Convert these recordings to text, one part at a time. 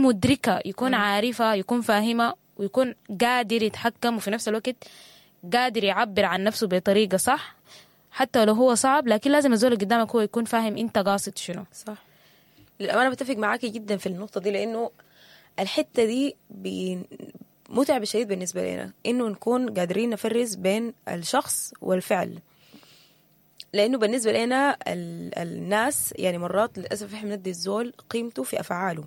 مدركة، يكون عارفة، يكون فاهمة، ويكون قادر يتحكم، وفي نفس الوقت قادر يعبر عن نفسه بطريقة صح، حتى لو هو صعب، لكن لازم الزول اللي قدامك هو يكون فاهم انت قاصد شنو. صح. للأمانة بتفق معاكي جدا في النقطة دي، لأنه الحتة دي متعبة شديد بالنسبة لنا، إنه نكون قادرين نفرز بين الشخص والفعل. لأنه بالنسبة لنا الناس يعني مرات للأسف إحنا بندي الزول قيمته في أفعاله،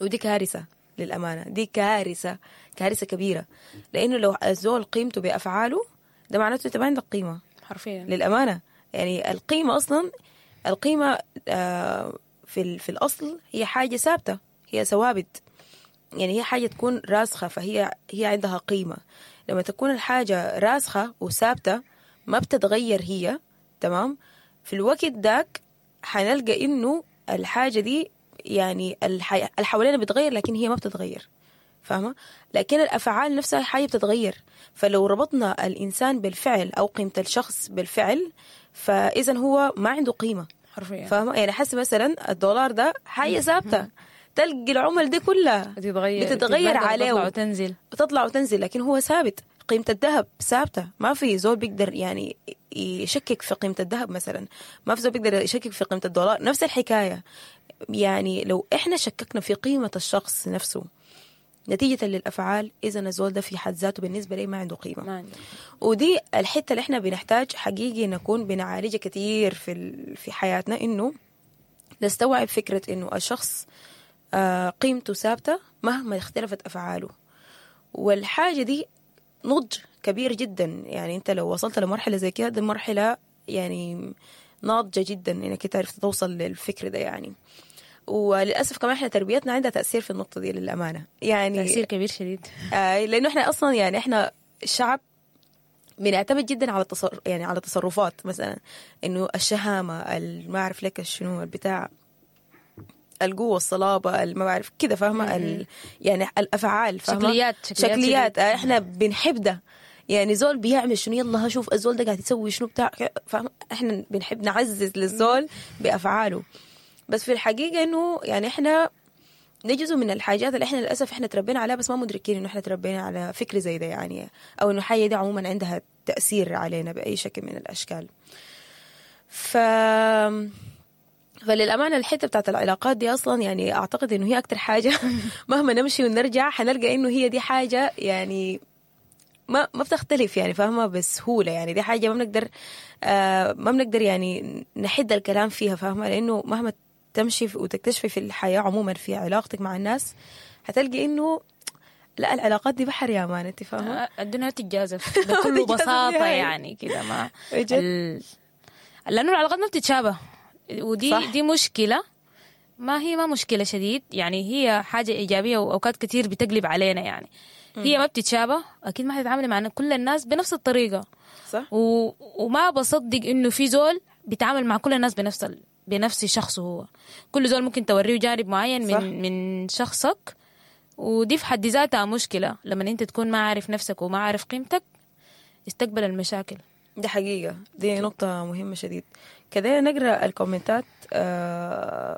ودي كارثة للأمانة، دي كارثة، كارثة كبيرة. لأنه لو الزول قيمته بأفعاله ده معناته أنت ما عندك قيمة حرفيا للأمانة. يعني القيمة أصلا، القيمة في الأصل هي حاجة ثابتة، هي ثوابت، يعني هي حاجة تكون راسخة، فهي عندها قيمة. لما تكون الحاجة راسخة وثابتة ما بتتغير هي، تمام، في الوقت داك حنلقى إنه الحاجة دي يعني الحوالينا بتغير لكن هي ما بتتغير، فاهمة؟ لكن الأفعال نفسها حاجة بتتغير. فلو ربطنا الإنسان بالفعل أو قيمة الشخص بالفعل، فإذا هو ما عنده قيمة حرفيا، فاهمة؟ يعني حس مثلا الدولار ده حاجة ثابتة، تلقي العمل دي كلها بتتغير عليه، بتطلع وتنزل، بتطلع وتنزل، لكن هو ثابت. قيمة الذهب ثابتة، ما في زول بيقدر يعني يشكك في قيمة الذهب مثلا، ما في زول بيقدر يشكك في قيمة الدولار. نفس الحكاية، يعني لو إحنا شككنا في قيمة الشخص نفسه نتيجة للأفعال، إذا الزول ده في حد ذاته بالنسبة لي ما عنده قيمة. ما عنده. ودي الحتة اللي إحنا بنحتاج حقيقي نكون بنعالجها كتير في حياتنا، إنه نستوعب فكرة إنه الشخص قيمته ثابتة مهما اختلفت أفعاله. والحاجة دي نضج كبير جدا، يعني أنت لو وصلت لمرحلة زي كده، دي مرحلة يعني ناضجة جدا إنك تعرف توصل للفكر ده يعني. وللأسف كمان إحنا تربيتنا عندها تأثير في النقطة دي للأمانة، يعني تأثير كبير شديد. لأنه إحنا أصلا يعني إحنا شعب بنعتمد جدا على يعني على التصرفات، مثلا إنه الشهامة، ما أعرف لك شنو البتاع، القوة، الصلابة، ما بعرف كده، فاهمة؟ يعني الأفعال، فاهمة؟ شكليات. إحنا بنحب ده، يعني زول بيعمل شنو، يلا هشوف الزول ده قاعد يسوي شنو بتاع، فاهمة؟ إحنا بنحب نعزز للزول بأفعاله. بس في الحقيقة إنه يعني إحنا نجزء من الحاجات اللي إحنا للأسف إحنا تربينا عليها، بس ما مدركين إنه إحنا تربينا على فكر زي ده يعني، أو إنه حاجة دي عموما عندها تأثير علينا بأي شكل من الأشكال. فللأمانة الحتة بتاعت العلاقات دي أصلا يعني أعتقد إنه هي أكتر حاجة مهما نمشي ونرجع حنلقى إنه هي دي حاجة يعني ما بتختلف يعني، فاهمة؟ بسهولة يعني، دي حاجة ما بنقدر يعني نحد الكلام فيها، فاهمة؟ لأنه مهما تمشي وتكتشفي في الحياة عموما في علاقتك مع الناس، هتلقي إنه لا، العلاقات دي بحر يا مان، انت فاهمة؟ الدنيا تتجازف بكل بساطة يعني كده، ما لأنه العلاقات ما بتتشابه، ودي صح. دي مشكلة، ما هي ما مشكلة شديد يعني، هي حاجة إيجابية وأوقات كتير بتقلب علينا يعني. هي ما بتتشابه، أكيد ما حتتعامل مع كل الناس بنفس الطريقة، صح. وما بصدق إنه في زول بيتعامل مع كل الناس بنفس شخصه هو. كل زول ممكن توريه جانب معين من صح. من شخصك، ودي في حد ذاتها مشكلة لما أنت تكون ما عارف نفسك وما عارف قيمتك، استقبل المشاكل. دي حقيقة، دي نقطة مهمة شديد. كده نقرأ الكومنتات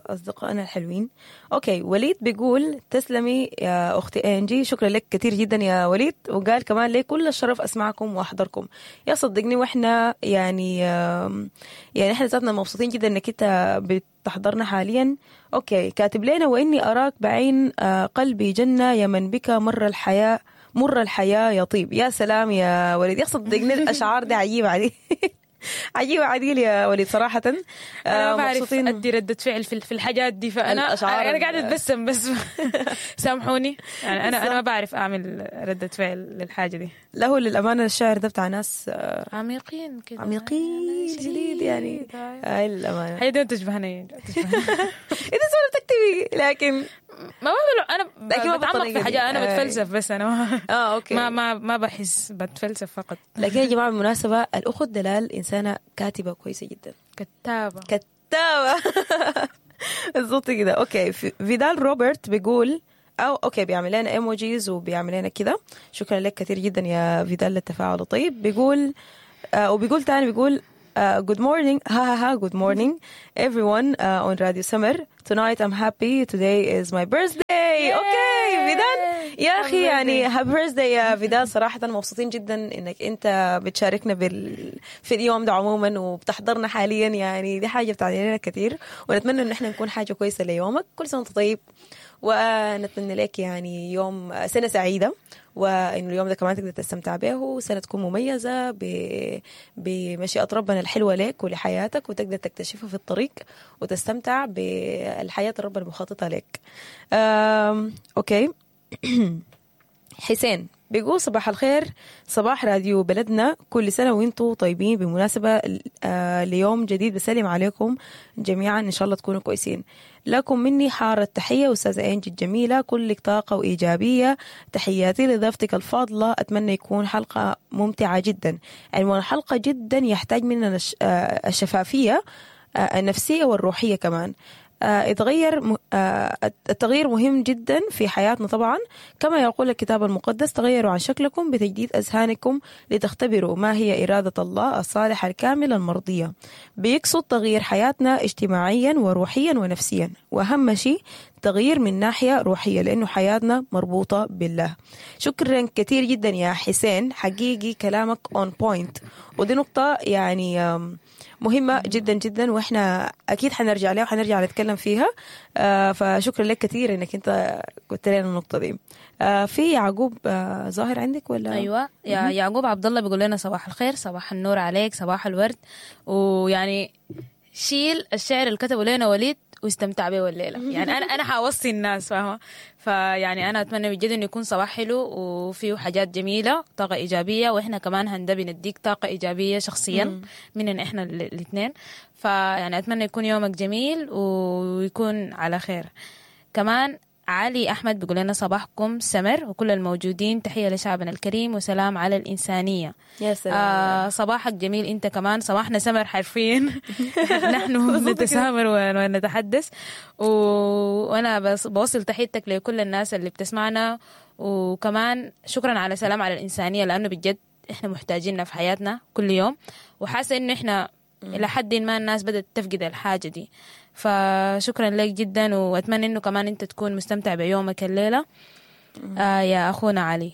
أصدقائنا الحلوين. okay، وليد بيقول تسلمي يا أختي أنجي، شكرا لك كثير جدا يا وليد. وقال كمان لي كل الشرف أسمعكم وأحضركم يا صدقني، وإحنا يعني يعني إحنا ذاتنا مبسوطين جدا إنك أنت بتحضرنا حاليا. okay، كاتب لنا وإني أراك بعين قلبي جنة يا من بك مر الحياة، مر الحياة يطيب. يا سلام يا وليد، يا صدقني الأشعار دي عجيبة عديل عجيبة عديل يا وليد صراحة. أنا ما بعرف أدي ردة فعل في الحاجات دي، فأنا أنا قاعدة أتبسم بس سامحوني يعني، أنا ما بعرف أعمل ردة فعل للحاجة دي. له للأمانة الشعر ده بتاع ناس عميقين كده، عميقين جديد يعني، هاي للأمانة هي دي تشبهني. إذا سؤال بتكتبي، لكن ما بعمل أنا بتعمق في حاجة، أنا بتفلسف بس، أنا ما okay. ما بحس، بتفلسف فقط. لكن يا جماعة بالمناسبة الأخت دلال إنسانة كاتبة كويسة جدا، كتابة بالضبط كده. okay، فيدال روبرت بيقول أو okay بيعمل لنا emojis وبيعمل لنا كده، شكرا لك كثير جدا يا فيدال للتفاعل. طيب بيقول وبيقول تاني، بيقول Good morning. Ha ha ha. Good morning, everyone on Radio Summer. Tonight I'm happy. Today is my birthday. Okay, فيدال يا اخي يعني happy birthday يا فيدال. صراحة مبسوطين جدا انك انت بتشاركنا في اليوم ده عموما وبتحضرنا حاليا، يعني دي حاجة بتعني لنا كثير، ونتمنى ان احنا نكون حاجة كويسة ليومك. كل سنة وانت طيب، ونتمنى لك يعني يوم سنة سعيدة، وإنه اليوم ده كمان تقدر تستمتع به، وسنة تكون مميزة بمشيئة ربنا الحلوة لك ولحياتك، وتقدر تكتشفها في الطريق وتستمتع بالحياة الرب المخططة لك. Okay. حسين بيقول صباح الخير، صباح راديو بلدنا، كل سنة وانتم طيبين. بمناسبة ليوم جديد بسلم عليكم جميعا، إن شاء الله تكونوا كويسين. لكم مني حارة التحية أستاذة إنجي الجميلة، كلك طاقة وإيجابية. تحياتي لضيفتك الفاضلة، أتمنى يكون حلقة ممتعة جدا. عنوان الحلقة جدا يحتاج مننا الشفافية النفسية والروحية كمان. التغيير مهم جدا في حياتنا طبعا، كما يقول الكتاب المقدس: تغيروا عن شكلكم بتجديد أذهانكم لتختبروا ما هي إرادة الله الصالحة الكاملة المرضية. بيقصد تغيير حياتنا اجتماعيا وروحيا ونفسيا، وأهم شيء تغيير من ناحية روحية، لأنه حياتنا مربوطة بالله. شكرا كثير جدا يا حسين، حقيقي كلامك on point، ودي نقطة يعني مهمة جدا جدا، وإحنا أكيد حنرجع لها وحنرجع نتكلم فيها. فشكرا لك كثير إنك أنت قلت لنا النقطة دي. في يعقوب ظاهر عندك ولا؟ أيوة، يا يعقوب عبد الله بيقول لنا صباح الخير، صباح النور عليك، صباح الورد. ويعني شيل الشعر اللي كتبه لنا وليد واستمتع به الليلة. يعني انا حوصي الناس، فاهمه؟ فيعني انا اتمنى بجد انه يكون صباح حلو وفيه حاجات جميلة، طاقة ايجابية، واحنا كمان هندبي نديك طاقة ايجابية شخصيا مننا احنا الاثنين. فيعني اتمنى يكون يومك جميل ويكون على خير. كمان علي أحمد بيقول لنا صباحكم سمر وكل الموجودين، تحية لشعبنا الكريم وسلام على الإنسانية. يا سلام. صباحك جميل أنت كمان، صباحنا سمر حرفيا. نحن نتسامر ونتحدث، وأنا بوصل تحيتك لكل الناس اللي بتسمعنا، وكمان شكرا على سلام على الإنسانية، لأنه بجد إحنا محتاجيننا في حياتنا كل يوم، وحاسة إنه إحنا إلى حد ما الناس بدأت تفقد الحاجة دي. فشكرا لك جدا، وأتمنى إنه كمان أنت تكون مستمتع بيومك الليلة. يا أخونا علي.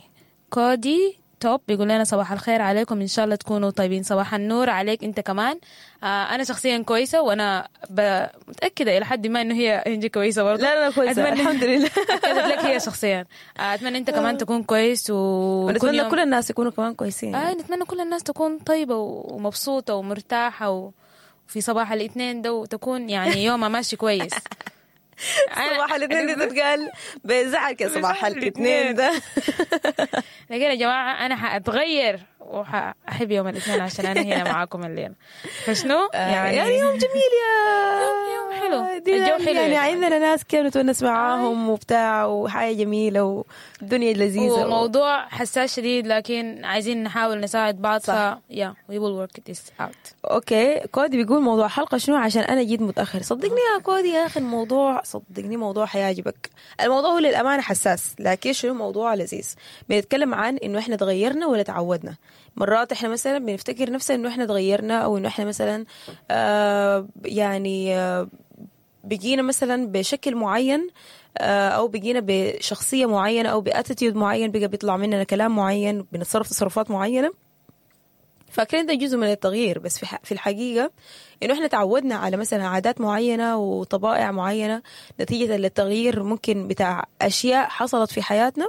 كودي توب بيقول لنا صباح الخير عليكم، إن شاء الله تكونوا طيبين. صباح النور عليك أنت كمان. أنا شخصيا كويسة، وأنا متأكدة إلى حد ما إنه هي إنجي كويسة برضه. لا لا كويسة الحمد لله. أكدت لك هي شخصيا. أتمنى أنت كمان تكون كويس، ونتمنى كل الناس يكونوا كمان كويسين. نتمنى كل الناس تكون طيبة ومبسوطة ومرتاحة، وفي صباح الاثنين ده وتكون يعني يومها ماشي كويس. صباح الاثنين ده تتقال بزعل كده، صباح الاثنين ده. لكن يا جماعة أنا حأتغير وحأحب يوم الاثنين عشان أنا هنا معاكم الليلة. فشنو يعني يوم جميل، يا يوم حلو، الجو حلو، يعني عندنا ناس كانوا نتونس معاهم وبتاع، وحاجة جميلة والدنيا لذيذة، وموضوع حساس شديد، لكن عايزين نحاول نساعد بعض. ف yeah we will work this out. okay كودي بيقول موضوع حلقة شنو عشان أنا جيت متأخر. صدقني يا كودي يا أخي الموضوع، صدقني موضوع حيعجبك. الموضوع هو للأمانة حساس، لكن شنو موضوع لذيذ. بنتكلم عن إنه إحنا تغيرنا ولا تعودنا. مرات إحنا مثلا بنفتكر نفسنا إنه إحنا تغيرنا، أو إنه إحنا مثلا يعني بقينا مثلا بشكل معين، أو بقينا بشخصية معينة، أو ب attitude معين، بقى بيطلع مننا كلام معين، بنتصرف تصرفات معينة، فاكرين ده جزء من التغيير. بس في الحقيقة إنه إحنا تعودنا على مثلا عادات معينة وطبائع معينة نتيجة للتغيير ممكن بتاع أشياء حصلت في حياتنا،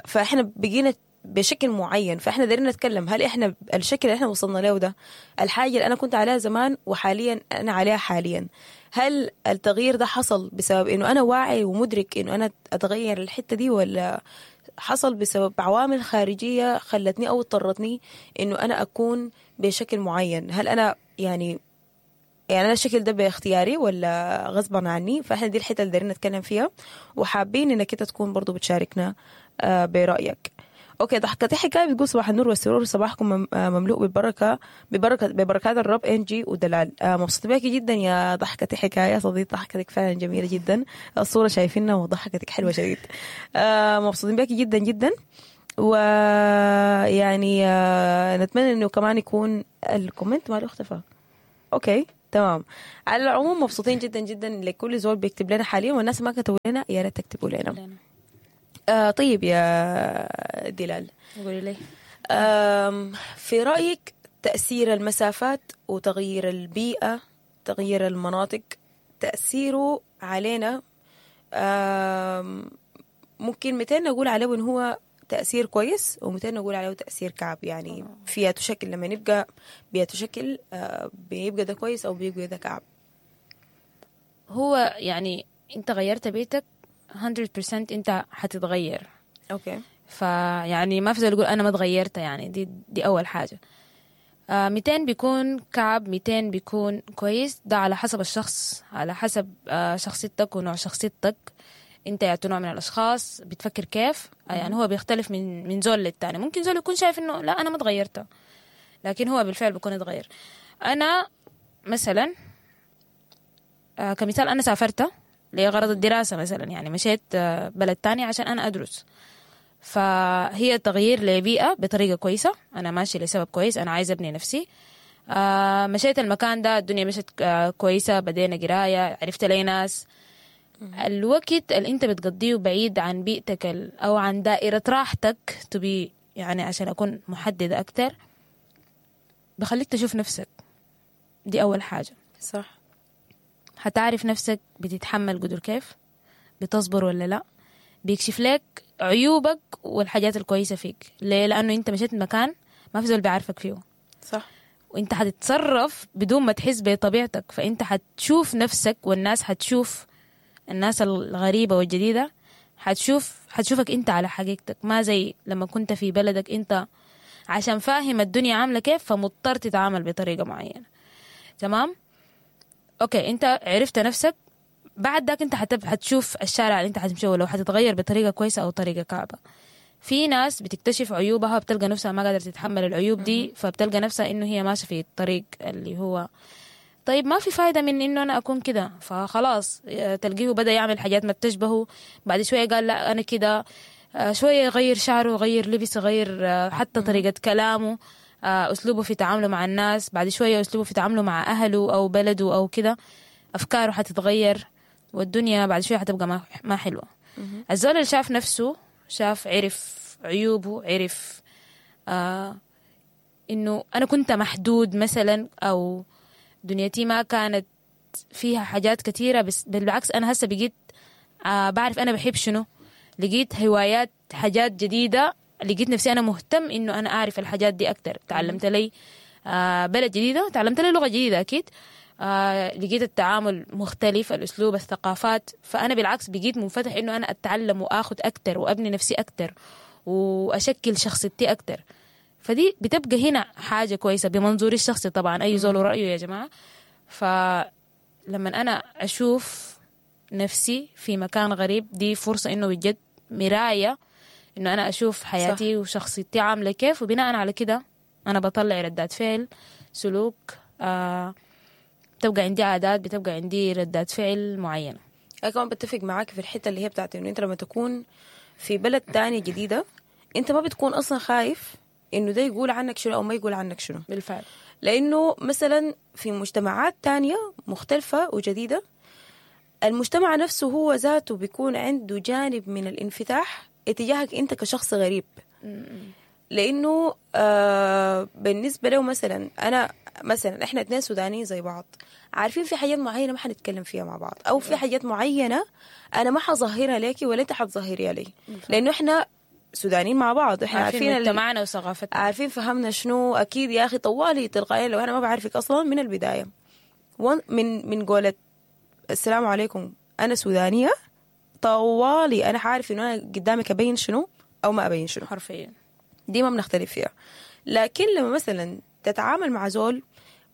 فإحنا بقينا بشكل معين. فإحنا دايرين نتكلم هل إحنا الشكل اللي إحنا وصلنا له ده، الحاجة اللي أنا كنت عليها زمان وحاليا أنا عليها حاليا، هل التغيير ده حصل بسبب إنه أنا واعي ومدرك إنه أنا أتغير الحتة دي، ولا حصل بسبب عوامل خارجية خلتني أو اضطرتني إنه أنا أكون بشكل معين؟ هل أنا يعني أنا الشكل ده باختياري ولا غصبا عني؟ فإحنا دي الحتة اللي دايرين نتكلم فيها، وحابين إنك أنت تكون برضو بتشاركنا برأيك. okay ضحكتي حكاية بتقول صباح النور والسرور، صباحكم مملوء بالبركة، ببركات الرب انجي ودلال. مبسوطة بيكي جدا يا ضحكتي حكاية، صديق ضحكتك فعلا جميلة جدا، الصورة شايفينها وضحكتك حلوة شديد. مبسوطين بيكي جدا جدا، ويعني نتمنى انه كمان يكون ال comment ماله اختفى. okay تمام. على العموم مبسوطين جدا جدا لكل زول بيكتب لنا حاليا، والناس ما كتبوا لنا يا ريت تكتبوا لنا. طيب يا دلال، قولي لي في رأيك تأثير المسافات وتغيير البيئة، تغيير المناطق، تأثيره علينا ممكن 200 نقول عليه إن هو تأثير كويس، و200 نقول عليه تأثير كعب؟ يعني فيها تشكل لما نبقى بيتشكل بيبقى ده كويس أو بيبقى ده كعب. هو يعني أنت غيرت بيتك 100% أنت حتتغير. okay. فيعني ما في زول يقول أنا ما تغيرت، يعني دي أول حاجة. 200 بيكون كعب، 200 بيكون كويس، ده على حسب الشخص، على حسب شخصيتك ونوع شخصيتك. انت يا نوع من الاشخاص بتفكر كيف، يعني هو بيختلف من زول للتاني. ممكن زول يكون شايف انه لا انا ما تغيرت، لكن هو بالفعل بيكون اتغير. انا مثلا كمثال انا سافرت لغرض الدراسة مثلا، يعني مشيت بلد تاني عشان انا ادرس، فهي تغيير لبيئة بطريقة كويسة، أنا ماشي لسبب كويس، أنا عايزة أبني نفسي. مشيت المكان ده، الدنيا مشت كويسة، بدينا قراية، عرفت لي ناس. الوقت اللي أنت بتقضيه بعيد عن بيئتك أو عن دائرة راحتك تبي، يعني عشان أكون محددة أكتر، بخليك تشوف نفسك. دي أول حاجة. صح. هتعرف نفسك بتتحمل قدر كيف، بتصبر ولا لا، بيكشف لك عيوبك والحاجات الكويسة فيك. ليه؟ لأنه أنت مشيت مكان ما في زول بيعرفك فيه. صح. وأنت حتتصرف بدون ما تحس بطبيعتك، فأنت حتشوف نفسك، والناس حتشوف، الناس الغريبة والجديدة حتشوفك أنت على حقيقتك، ما زي لما كنت في بلدك أنت عشان فاهم الدنيا عاملة كيف فمضطر تتعامل بطريقة معينة. تمام؟ okay، أنت عرفت نفسك، بعد ذاك انت حتشوف الشارع اللي انت حتمشيه لو حتتغير بطريقة كويسة او طريقه كعبه. في ناس بتكتشف عيوبها، بتلقى نفسها ما قادرة تتحمل العيوب دي، فبتلقى نفسها انه هي ماشية في الطريق اللي هو طيب ما في فايده من انه انا اكون كده، فخلاص تلقيه بدا يعمل حاجات ما بتشبهه، بعد شوية قال لا انا كده، شوية يغير شعره، يغير لبسه، يغير حتى طريقه كلامه، اسلوبه في تعامله مع الناس، بعد شوية اسلوبه في تعامله مع اهله او بلده او كده، افكاره حتتغير، والدنيا بعد شوية حتبقى ما حلوة. الزول اللي شاف نفسه، شاف، عرف عيوبه، عرف إنه أنا كنت محدود مثلا، أو دنيتي ما كانت فيها حاجات كثيرة، بس بالعكس أنا هسه بقيت بعرف أنا بحب شنو، لقيت هوايات، حاجات جديدة، لقيت نفسي أنا مهتم إنه أنا أعرف الحاجات دي أكتر. تعلمت لي بلد جديدة، تعلمت لي لغة جديدة أكيد، لقيت التعامل مختلف، الأسلوب، الثقافات، فأنا بالعكس بقيت منفتح إنه أنا أتعلم وآخد أكتر وأبني نفسي أكتر وأشكل شخصيتي أكتر. فدي بتبقى هنا حاجة كويسة بمنظوري الشخصي طبعا، أي زول رأيه يا جماعة. فلما أنا أشوف نفسي في مكان غريب، دي فرصة إنه بجد مراية إنه أنا أشوف حياتي. صح. وشخصيتي عاملة كيف، وبناء على كده أنا بطلع ردات فعل، سلوك، بتبقى عندي عادات، بتبقى عندي ردات فعل معينة. أنا كمان بتفق معاك في الحتة اللي هي بتاعت إنه أنت لما تكون في بلد تاني جديدة، أنت ما بتكون أصلا خايف إنه ده يقول عنك شنو أو ما يقول عنك شنو. بالفعل. لأنه مثلا في مجتمعات تانية مختلفة وجديدة، المجتمع نفسه هو ذاته بيكون عنده جانب من الانفتاح اتجاهك أنت كشخص غريب. لأنه بالنسبة له مثلا أنا مثلا إحنا اثنين سودانيين زي بعض، عارفين في حاجات معينة ما حنتكلم فيها مع بعض، أو في حاجات معينة أنا ما حظهرها ليكي ولا أنت حتظهريها لي، لأنه إحنا سودانيين مع بعض، إحنا عارفين مجتمعنا وثقافتنا، عارفين فهمنا شنو. أكيد يا أخي طوالي تلقائيا لو أنا ما بعرفك أصلا من البداية، من قولة السلام عليكم أنا سودانية، طوالي أنا عارف إنه أنا قدامك أبين شنو أو ما أبين شنو حرفيا، دي ما بنختلف فيها. لكن لما مثلا تتعامل مع زول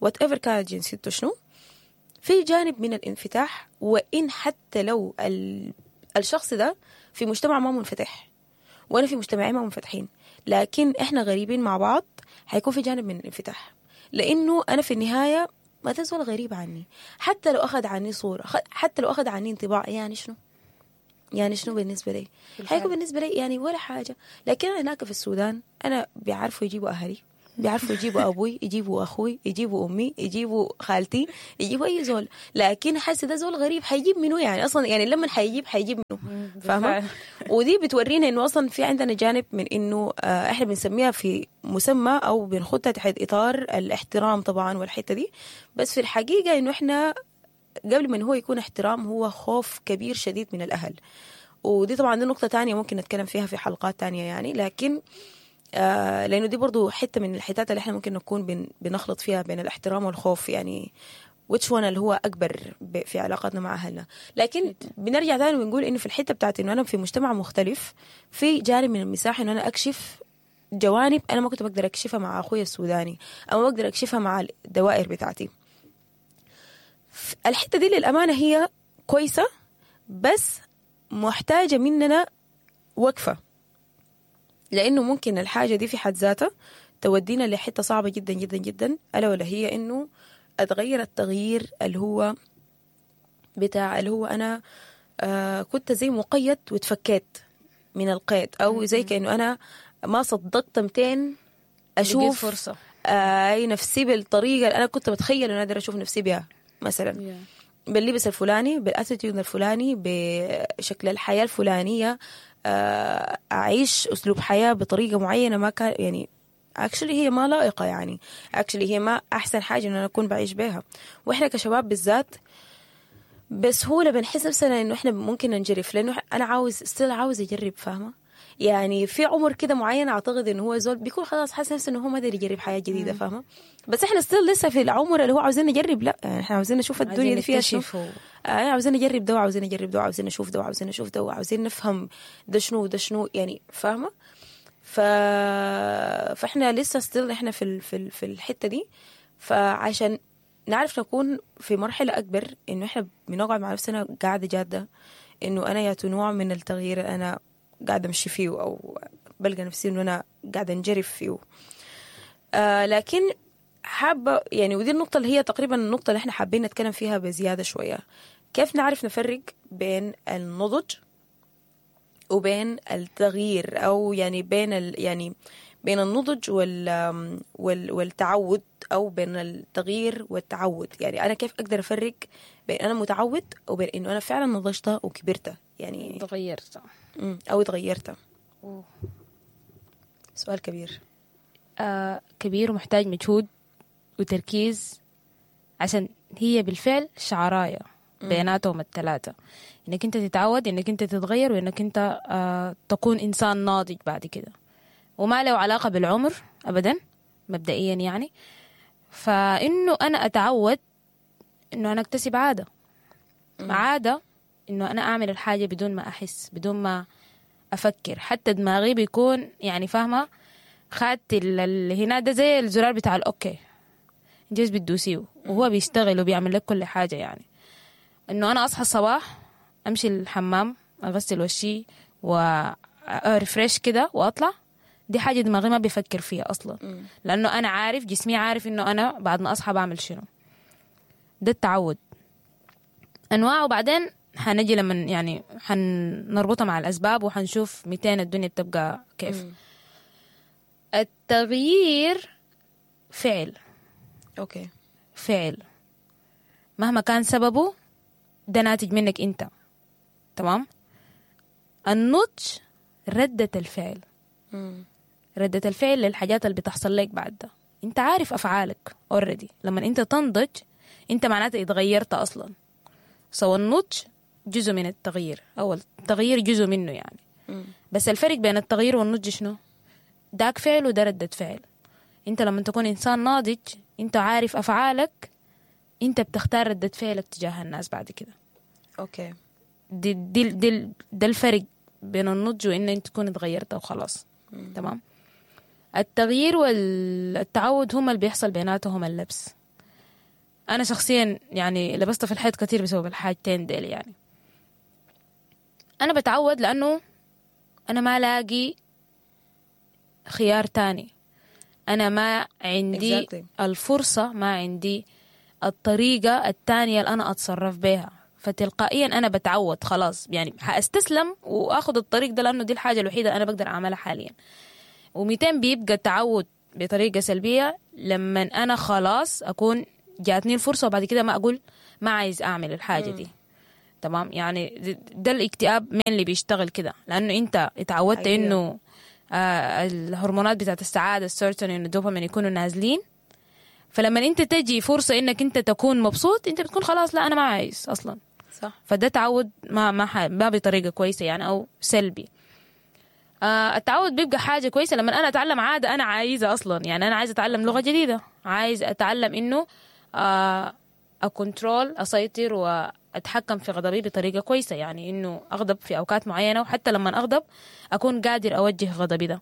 whatever كانت جنسيته شنو، في جانب من الانفتاح، وإن حتى لو الشخص ده في مجتمع ما منفتح وأنا في مجتمعي ما منفتحين، لكن إحنا غريبين مع بعض، حيكون في جانب من الانفتاح، لأنه أنا في النهاية ما تزول غريب عني، حتى لو أخذ عني صورة، حتى لو أخذ عني انطباع، يعني شنو يعني شنو بالنسبة لي؟ حيكون بالنسبة لي يعني ولا حاجة. لكن أنا هناك في السودان أنا بيعرفوا يجيبوا أهلي، بيعرفوا يجيبوا ابوي، يجيبوا اخوي، يجيبوا امي، يجيبوا خالتي، يجيبوا اي زول. لكن حاسه ده زول غريب حيجيب منو يعني اصلا، يعني لما حيجيب منو، فاهمه؟ ودي بتورينا انه اصلا في عندنا جانب من انه احنا بنسميها في مسمى او بنخدها تحت اطار الاحترام طبعا والحتة دي، بس في الحقيقة انه احنا قبل ما هو يكون احترام هو خوف كبير شديد من الاهل. ودي طبعا دي نقطة تانية ممكن نتكلم فيها في حلقات تانية يعني، لكن لأنه دي برضو حتة من الحتات اللي احنا ممكن نكون بنخلط فيها بين الاحترام والخوف، يعني which one اللي هو أكبر في علاقاتنا مع أهلنا. لكن بنرجع تاني ونقول إنه في الحتة بتاعت إنه أنا في مجتمع مختلف، في جانب من المساحة إنه أنا أكشف جوانب أنا ما كنت بقدر أكشفها مع أخوي السوداني، أو ما بقدر أكشفها مع الدوائر بتاعتي. الحتة دي للأمانة هي كويسة، بس محتاجة مننا وقفة، لأنه ممكن الحاجة دي في حد ذاتها تودينا لحتة صعبة جدا جدا جدا، ألا ولا هي إنه أتغير التغيير اللي هو بتاع اللي هو أنا كنت زي مقيد وتفكيت من القيد، أو زي كأنه أنا ما صدقت 200 أشوف فرصة أي نفسي بالطريقة اللي أنا كنت بتخيل إنه أقدر أشوف نفسي بها، مثلا باللبس الفلاني، بال attitude الفلاني، بشكل الحياة الفلانية، أعيش أسلوب حياة بطريقة معينة ما كان يعني actually هي ما لائقة، يعني actually هي ما أحسن حاجة إن أنا أكون بعيش بها. وإحنا كشباب بالذات بسهولة بنحس نفسنا إنه إحنا ممكن ننجرف، لأنه أنا عاوز still عاوز أجرب، فاهمة؟ يعني في عمر كده معين أعتقد إنه هو زول بيكون خلاص حاسس نفسه إنه هو ما قادر يجرب حياة جديدة، فاهمة؟ بس إحنا still لسه في العمر اللي هو عاوزين نجرب، لا يعني إحنا عاوزين نشوف الدنيا دي فيها شنو، عاوزين نجرب ده وعاوزين نجرب ده وعاوزين نشوف ده وعاوزين نشوف ده وعاوزين نفهم ده شنو وده شنو، يعني فاهمة؟ فإحنا لسه still إحنا في الحتة دي. فعشان نعرف نكون في مرحلة أكبر إنه إحنا بنقعد مع نفسنا قاعدة جادة، إنه أنا يا نوع من التغيير أنا قاعدة أمشي فيه، أو بلقى نفسي إنه أنا قاعدة أنجرف فيه. لكن حابة يعني، ودي النقطة اللي هي تقريبا النقطة اللي إحنا حابين نتكلم فيها بزيادة شوية، كيف نعرف نفرق بين النضج وبين التغيير، أو يعني بين يعني بين النضج والتعود، أو بين التغيير والتعود. يعني أنا كيف أقدر أفرق بين أنا متعود وبين إنه أنا فعلا نضجت وكبرت، يعني تغيرت أو تغيرت. سؤال كبير، كبير ومحتاج مجهود وتركيز، عشان هي بالفعل شعراية بيناتهم الثلاثة، إنك أنت تتعود، إنك أنت تتغير، وإنك أنت تكون إنسان ناضج بعد كده، وما له علاقة بالعمر أبدا مبدئيا يعني. فإنه أنا أتعود إنه أنا أكتسب عادة، عادة إنه أنا أعمل الحاجة بدون ما أحس، بدون ما أفكر، حتى دماغي بيكون يعني فاهمة خدت اللي هنا ده زي الزرار بتاع ال okay، انت بس بتدوسيه وهو بيشتغل وبيعمل لك كل حاجة. يعني إنه أنا أصحى الصباح أمشي الحمام أغسل وشي و refresh كده وأطلع، دي حاجة دماغي ما بيفكر فيها أصلا، لأنه أنا عارف جسمي عارف إنه أنا بعد ما أصحى بعمل شنو. ده التعود أنواع، وبعدين حنجي لما يعني حنربطها مع الأسباب وحنشوف 200 الدنيا بتبقى كيف. التغيير فعل، okay، فعل مهما كان سببه ده ناتج منك أنت، تمام؟ النضج ردة الفعل، ردة الفعل للحاجات اللي بتحصل لك بعد ده. انت عارف أفعالك already، لما انت تنضج انت معناته اتغيرت أصلا. سو النضج جزء من التغيير، أو التغيير جزء منه يعني. بس الفرق بين التغيير والنضج شنو؟ داك فعل وده ردة فعل. انت لما تكون إنسان ناضج انت عارف أفعالك، انت بتختار ردة فعلك تجاه الناس بعد كده. okay، دي دي دي ده الفرق بين النضج وإن انت تكون اتغيرت وخلاص. تمام. التغيير والتعود هما اللي بيحصل بيناتهم اللبس. أنا شخصيا يعني لبست في الحيط كتير بسبب الحاجتين ديل. يعني أنا بتعود لأنه أنا ما لاقي خيار تاني، أنا ما عندي الفرصة، ما عندي الطريقة التانية اللي أنا أتصرف بها، فتلقائيا أنا بتعود خلاص. يعني حأستسلم وأخذ الطريق ده لأنه دي الحاجة الوحيدة أنا بقدر أعملها حاليا. و200 بيبقى تعود بطريقة سلبية لما انا خلاص اكون جاتني الفرصة وبعد كده ما اقول ما عايز اعمل الحاجة دي. تمام، يعني ده الاكتئاب من اللي بيشتغل كده، لانه انت اتعودت انه الهرمونات بتاعت السعادة، السيروتونين والدوبامين يكونوا نازلين، فلما انت تجي فرصة انك انت تكون مبسوط انت بتكون خلاص لا انا ما عايز اصلا. صح. فده تعود ما بطريقة كويسة يعني، او سلبي. التعود بيبقى حاجة كويسة لما انا اتعلم عادة انا عايزه اصلا، يعني انا عايزه اتعلم لغة جديدة، عايز اتعلم انه ا control، اسيطر واتحكم في غضبي بطريقة كويسة، يعني انه اغضب في اوقات معينة، وحتى لما اغضب اكون قادر اوجه غضبي ده.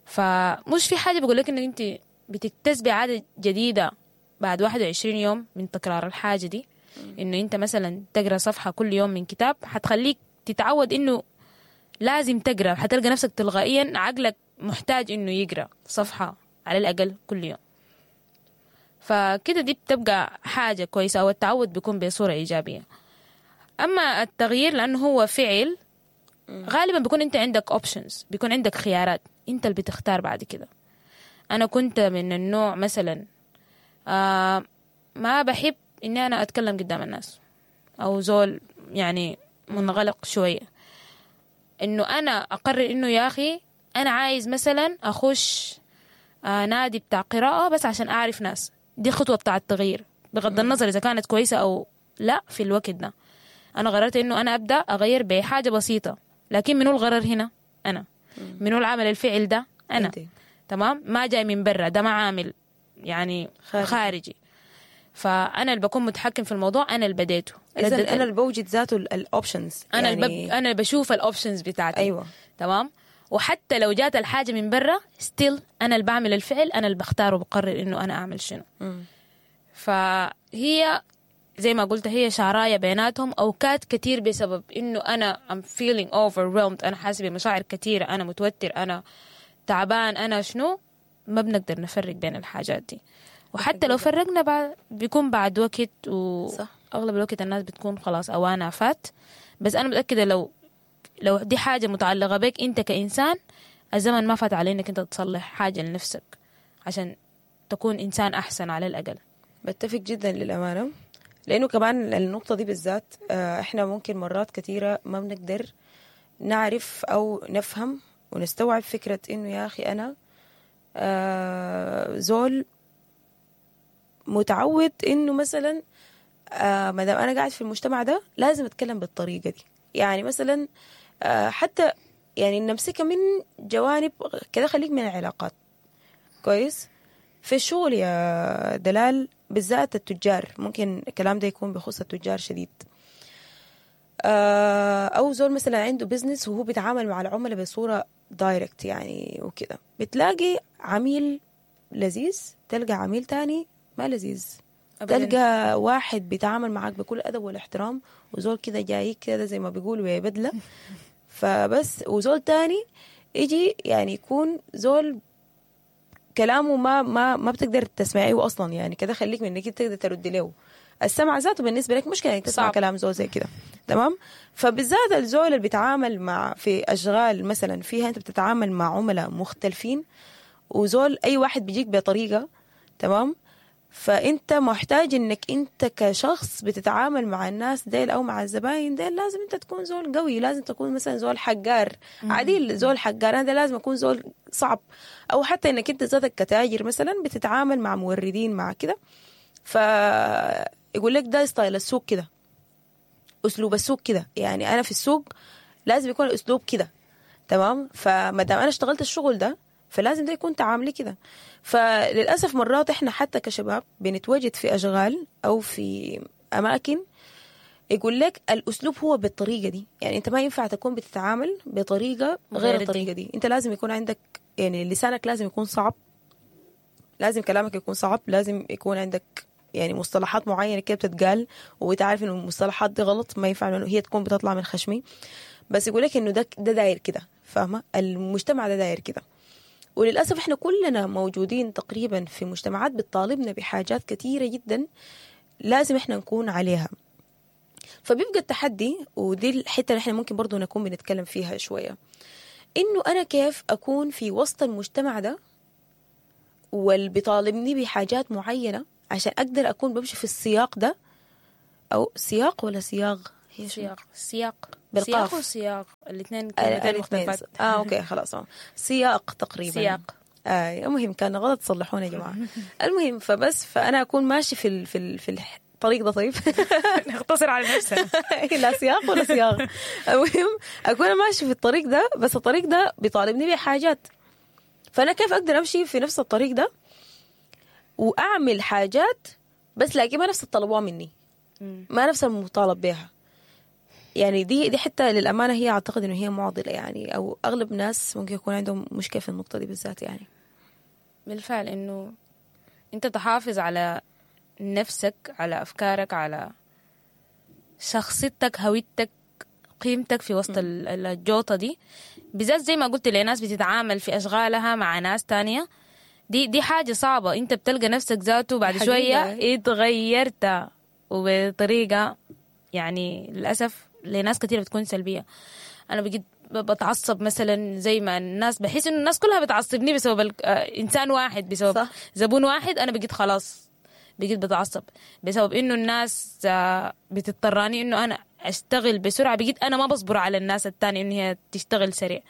فمش في حاجة بقول لك انه انت بتكتسبي عادة جديدة بعد 21 يوم من تكرار الحاجة دي، انه انت مثلا تقرا صفحة كل يوم من كتاب حتخليك تتعود انه لازم تقرا، حتلقى نفسك تلقائيا عقلك محتاج انه يقرا صفحة على الاقل كل يوم. فكده دي بتبقى حاجة كويسة، او التعود بيكون بصورة ايجابية. اما التغيير لانه هو فعل، غالبا بيكون انت عندك options، بيكون عندك خيارات انت اللي بتختار بعد كده. انا كنت من النوع مثلا ما بحب اني انا اتكلم قدام الناس، او زول يعني منغلق شوية، انه انا اقرر انه يا اخي انا عايز مثلا اخش نادي بتاع قراءة بس عشان اعرف ناس. دي خطوة بتاع التغيير بغض النظر اذا كانت كويسة او لا. في الوقت ده انا قررت انه انا ابدا اغير بحاجة بسيطة، لكن منو الغرر هنا؟ انا. منو العمل الفعل ده؟ انا. تمام، ما جاي من برا، ده ما عامل يعني خارجي. فانا اللي بكون متحكم في الموضوع، انا اللي بديته. اذا انا اللي بوجد ذاته ال options، انا يعني انا اللي بشوف ال options بتاعتي. ايوه تمام. وحتى لو جات الحاجة من برا still انا اللي بعمل الفعل، انا اللي بختار وبقرر انه انا اعمل شنو. فهي زي ما قلت هي شعرايه بيناتهم اوقات كتير، بسبب انه انا I'm feeling overwhelmed، انا حاسه بمشاعر كتيرة، انا متوتر، انا تعبان، انا شنو، ما بنقدر نفرق بين الحاجات دي. وحتى لو فرقنا بعد بيكون بعد وقت، واغلب الوقت الناس بتكون خلاص اوانها فات. بس انا متاكدة لو دي حاجة متعلقه بك انت كانسان، الزمن ما فات على انك انت تصلح حاجة لنفسك عشان تكون انسان احسن على الاقل. بتفق جدا للامانة، لانه كمان النقطة دي بالذات احنا ممكن مرات كثيرة ما بنقدر نعرف او نفهم ونستوعب فكرة انه يا اخي انا زول متعود انه مثلا ما دام انا قاعد في المجتمع ده لازم اتكلم بالطريقة دي. يعني مثلا حتى يعني نمسكها من جوانب كده، خليك من العلاقات كويس في الشغل يا دلال، بالذات التجار، ممكن الكلام ده يكون بخصوص التجار شديد، او زول مثلا عنده business وهو بيتعامل مع العملاء بصورة direct يعني وكده، بتلاقي عميل لذيذ، تلقى عميل تاني ما لذيذ، أبداً. تلقى واحد بيتعامل معاك بكل أدب والاحترام، وزول كده جاي كده زي ما بيقولوا يا بدلة فبس، وزول تاني يجي يعني يكون زول كلامه ما ما ما بتقدر تسمعيه أصلا، يعني كده خليك من إنك تقدر ترد له، السمع ذاته بالنسبة لك مشكلة إنك تسمع كلام زول زي كده. تمام. فبالذات الزول اللي بيتعامل مع في أشغال مثلا فيها أنت بتتعامل مع عملاء مختلفين، وزول أي واحد بيجيك بطريقة، تمام، فانت محتاج انك انت كشخص بتتعامل مع الناس ديل او مع الزباين ديل لازم انت تكون زول قوي، لازم تكون مثلا زول حقار عديل، زول حقار، انا ده لازم اكون زول صعب. او حتى انك انت ذاتك كتاجر مثلا بتتعامل مع موردين مع كده، فيقول لك ده style السوق كده، اسلوب السوق كده، يعني انا في السوق لازم يكون الاسلوب كده. تمام. فما دام انا اشتغلت الشغل ده فلازم ده يكون تعاملي كده. فللأسف مرات إحنا حتى كشباب بنتواجد في أشغال أو في أماكن يقول لك الأسلوب هو بالطريقة دي، يعني أنت ما ينفع تكون بتتعامل بطريقة غير الطريقة دي، أنت لازم يكون عندك يعني لسانك لازم يكون صعب، لازم كلامك يكون صعب، لازم يكون عندك يعني مصطلحات معينة كده بتتقال وتعرف إنه المصطلحات دي غلط، ما ينفع إنه هي تكون بتطلع من خشمي، بس يقول لك إنه ده داير كده، فاهمة؟ المجتمع ده داير كده. وللأسف إحنا كلنا موجودين تقريبا في مجتمعات بتطالبنا بحاجات كثيرة جدا لازم إحنا نكون عليها. فبيبقى التحدي، ودي الحتة اللي إحنا ممكن برضو نكون بنتكلم فيها شوية، إنه أنا كيف أكون في وسط المجتمع ده واللي بيطالبني بحاجات معينة عشان اقدر اكون بمشي في السياق ده. او سياق ولا سياغ؟ هي سياق. سياق بالقاف. سياق وسياق الاثنين كلمتين مختلفات. okay خلاص، سياق تقريبا. سياق. المهم كان غلط، صلحونا يا جماعة. المهم فبس فانا اكون ماشي في في الطريق ده. طيب نختصر على نفسنا. لا سياق ولا سياق. المهم اكون ماشي في الطريق ده، بس الطريق ده بيطالبني بحاجات، فانا كيف اقدر امشي في نفس الطريق ده واعمل حاجات بس لكن ما نفس الطلبوها مني، ما نفس المطالب بها. يعني دي حتى للأمانة هي أعتقد إنه هي معضلة يعني، أو أغلب الناس ممكن يكون عندهم مشكلة في النقطة دي بالذات يعني. بالفعل إنه أنت تحافظ على نفسك، على أفكارك، على شخصيتك، هويتك، قيمتك في وسط الجوطة دي بالذات. زي ما قلت لناس بتتعامل في أشغالها مع ناس تانية، دي حاجة صعبة. أنت بتلقى نفسك ذاته بعد شوية اتغيرت، وبطريقة يعني للأسف لناس كثيرة بتكون سلبية. أنا بقيت بتعصب مثلا زي ما الناس، بحس إنه الناس كلها بتعصبني بسبب إنسان واحد، بسبب صح. زبون واحد. أنا بقيت خلاص بقيت بتعصب بسبب إنه الناس بتضطراني إنه أنا أشتغل بسرعة. بقيت أنا ما بصبر على الناس التانية إنه هي تشتغل سريع.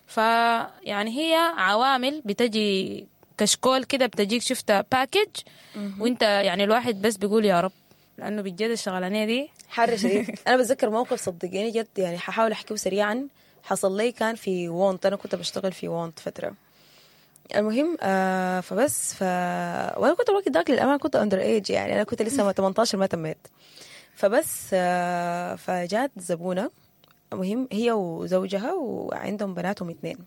فيعني هي عوامل بتجي كشكول كده، بتجيك شفتها package، وانت يعني الواحد بس بيقول يا رب، لأنه بجد الشغلانية دي حر شديد. أنا بتذكر موقف صدقيني جد يعني، ححاول أحكيه سريعا. حصل لي كان في وونت، أنا كنت بشتغل في وونت فترة. المهم فبس وأنا كنت الوقت داك للأمانة كنت under age يعني، أنا كنت لسه 18 ما تميت. فبس فجات زبونة، المهم هي وزوجها وعندهم بناتهم 2.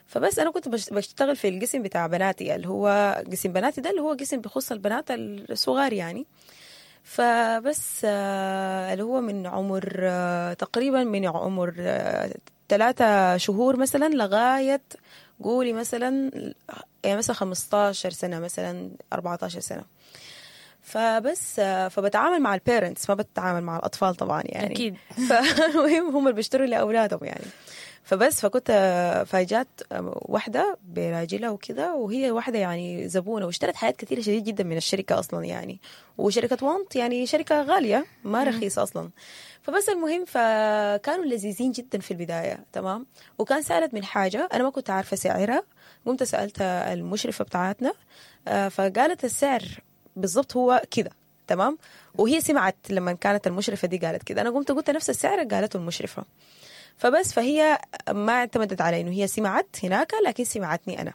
فبس أنا كنت بشتغل في القسم بتاع بناتي، اللي هو قسم بناتي ده اللي هو قسم بخص البنات الصغار يعني. فبس اللي هو من عمر تقريبا من عمر 3 شهور مثلا لغاية قولي مثلا يعني مثلا 15 سنة مثلا 14 سنة. فبس فبتعامل مع ال parents، ما بتعامل مع الأطفال طبعا يعني. أكيد. فالمهم هم اللي بيشتروا لأولادهم يعني. فبس فكنت فاجأت واحدة براجلها وكده، وهي واحدة يعني زبونة واشترت حاجات كثيرة شديد جدا من الشركة أصلا يعني، وشركة وانت يعني شركة غالية ما رخيصة أصلا. فبس المهم فكانوا لذيذين جدا في البداية تمام. وكان سألت من حاجة أنا ما كنت عارفة سعرها، قمت سألت المشرفة بتاعتنا فقالت السعر بالضبط هو كده تمام. وهي سمعت لما كانت المشرفة دي قالت كده، أنا قمت قلت نفس السعر قالته المشرفة. فبس فهي ما اعتمدت على إنه هي سمعت هناك، لكن سمعتني أنا.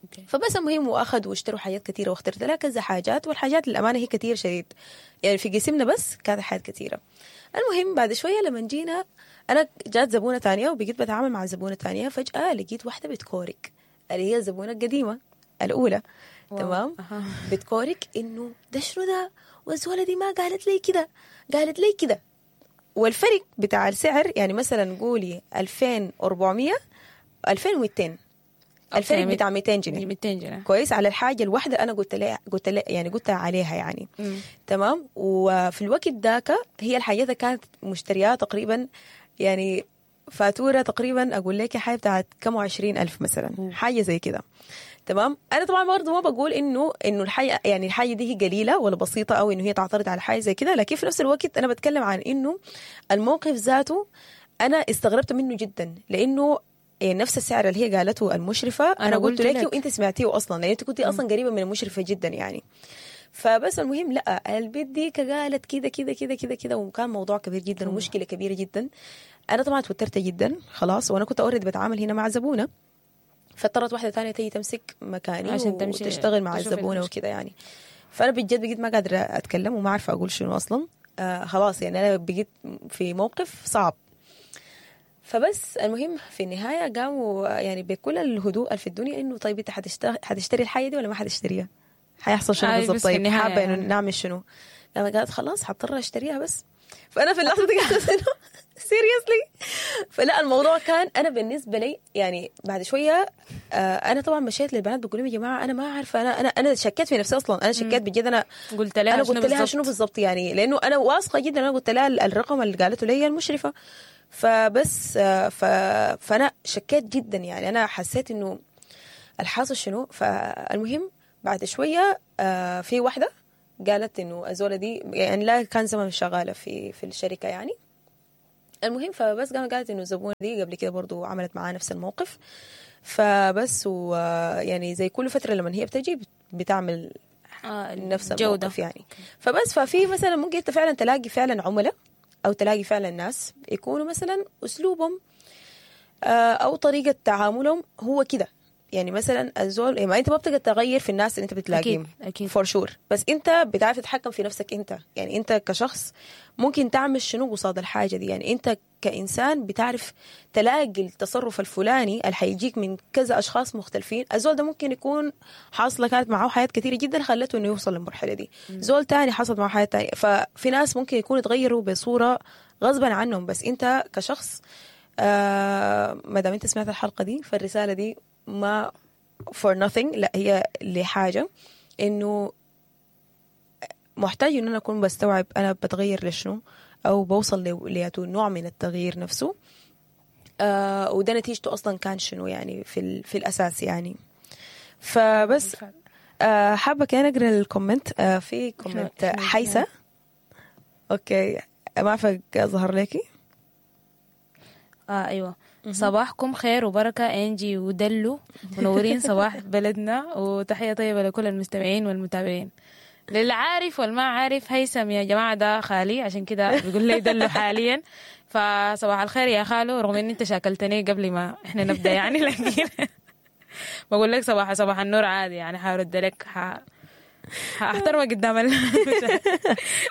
okay. فبس المهم وأخذوا واشتروا حاجات كثيرة، واخترت لها كذا حاجات، والحاجات للأمانة هي كثير شديد يعني، في قسمنا بس كانت حاجات كثيرة. المهم بعد شوية لما جينا أنا جات زبونة تانية، وبقيت بتعامل مع زبونة تانية. فجأة لقيت واحدة بتكورك، اللي هي الزبونة القديمة الأولى. تمام. بتكورك إنه ده شنو ده، والزولة دي ما قالت لي كده، قالت لي كده. والفرق بتاع السعر يعني مثلا قولي 2400 2200، الفرق بتاع 200 جنيه. 200 جنيه كويس على الحاجة الواحدة أنا قلت لها يعني قلت عليها يعني. تمام. وفي الوقت ذاك هي الحاجة كانت مشتريات تقريبا يعني فاتورة تقريبا أقول لك حاجة بتاعت كم 20,000 مثلا، حاجة زي كده تمام. أنا طبعا برضه ما بقول إنه الحاجة يعني الحاجة دي هي قليلة ولا بسيطة أو إنه هي تعترض على حاجة زي كده، لكن في نفس الوقت أنا بتكلم عن إنه الموقف ذاته أنا استغربت منه جدا، لأنه يعني نفس السعر اللي هي قالته المشرفة أنا قلت لك وأنت سمعتيه أصلا، لأن أنت كنتي أصلا قريبة من المشرفة جدا يعني. فبس المهم لا البيت دي قالت كده كده كده كده كده، وكان موضوع كبير جدا ومشكلة كبيرة جدا. أنا طبعا توترت جدا خلاص، وأنا كنت already بتعامل هنا مع زبونة، فاضطرت واحدة ثانية تيجي تمسك مكاني عشان وتشتغل مع الزبونة وكده يعني. فأنا بجد بقيت ما قادرة أتكلم وما عارفة أقول شنو أصلا. خلاص يعني أنا بقيت في موقف صعب. فبس المهم في النهاية قاموا يعني بكل الهدوء في الدنيا إنه طيب أنت حتشتري الحاجة دي ولا ما حتشتريها؟ حيحصل شنو بالضبط؟ طيب حابة إنه نعمل شنو؟ أنا قالت خلاص حضطر أشتريها بس. فأنا في اللحظة دي قلت إنه seriously. فلا الموضوع كان أنا بالنسبة لي يعني بعد شوية أنا طبعا مشيت للبنات بقول لهم يا جماعة أنا ما عارفة، أنا شكيت في نفسي أصلا، أنا شكيت بجد. أنا قلت لها شنو بالضبط يعني، لأنه أنا واثقة جدا أنا قلت لها الرقم اللي قالته لي المشرفة. فبس فأنا شكيت جدا يعني، أنا حسيت إنه الحاصل شنو؟ فالمهم بعد شوية في واحدة قالت انه الزوله دي يعني لا كان زمن شغالة في الشركة يعني. المهم فبس قامت قالت انه الزبونه دي قبل كده برضو عملت معاه نفس الموقف، فبس ويعني زي كل فترة لما هي بتجي بتعمل نفس الموقف يعني. فبس ففي مثلا ممكن انت فعلا تلاقي فعلا عملاء او تلاقي فعلا ناس يكونوا مثلا اسلوبهم او طريقه تعاملهم هو كده يعني. مثلا الزول ما انت ما بتقدر تغير في الناس اللي انت بتلاقيهم اكيد for sure، بس انت بتعرف تتحكم في نفسك انت يعني. انت كشخص ممكن تعمل شنو قصاد الحاجة دي يعني. انت كانسان بتعرف تلاقي التصرف الفلاني اللي حيجيك من كذا اشخاص مختلفين. الزول ده ممكن يكون حاصله كانت معاه حياة كثيرة جدا خلته انه يوصل للمرحلة دي. زول تاني حصلت معاه حياة تانية. ففي ناس ممكن يكونوا يتغيروا بصورة غصبا عنهم، بس انت كشخص ما دام انت سمعت الحلقة دي فالرساله دي ما for nothing، لا هي لحاجة انه محتاج ان انا اكون بستوعب انا بتغير لشنو او بوصل لياتو نوع من التغيير نفسه، وده نتيجته اصلا كان شنو يعني في الاساس يعني. فبس حابة كان اقرا ال comment. في comment حيسة، okay ما عارفة ظهر لكي. ايوه. صباحكم خير وبركة انجي ودلو، منورين صباح بلدنا، وتحية طيبة لكل المستمعين والمتابعين. للعارف والما عارف هيثم يا جماعة ده خالي، عشان كده بيقول لي دلو حاليا. فصباح الخير يا خالو، رغم ان انت شاكلتني قبل ما احنا نبدأ يعني، لكن بقول لك صباح النور عادي يعني، حارد لك، حاحترمك قدام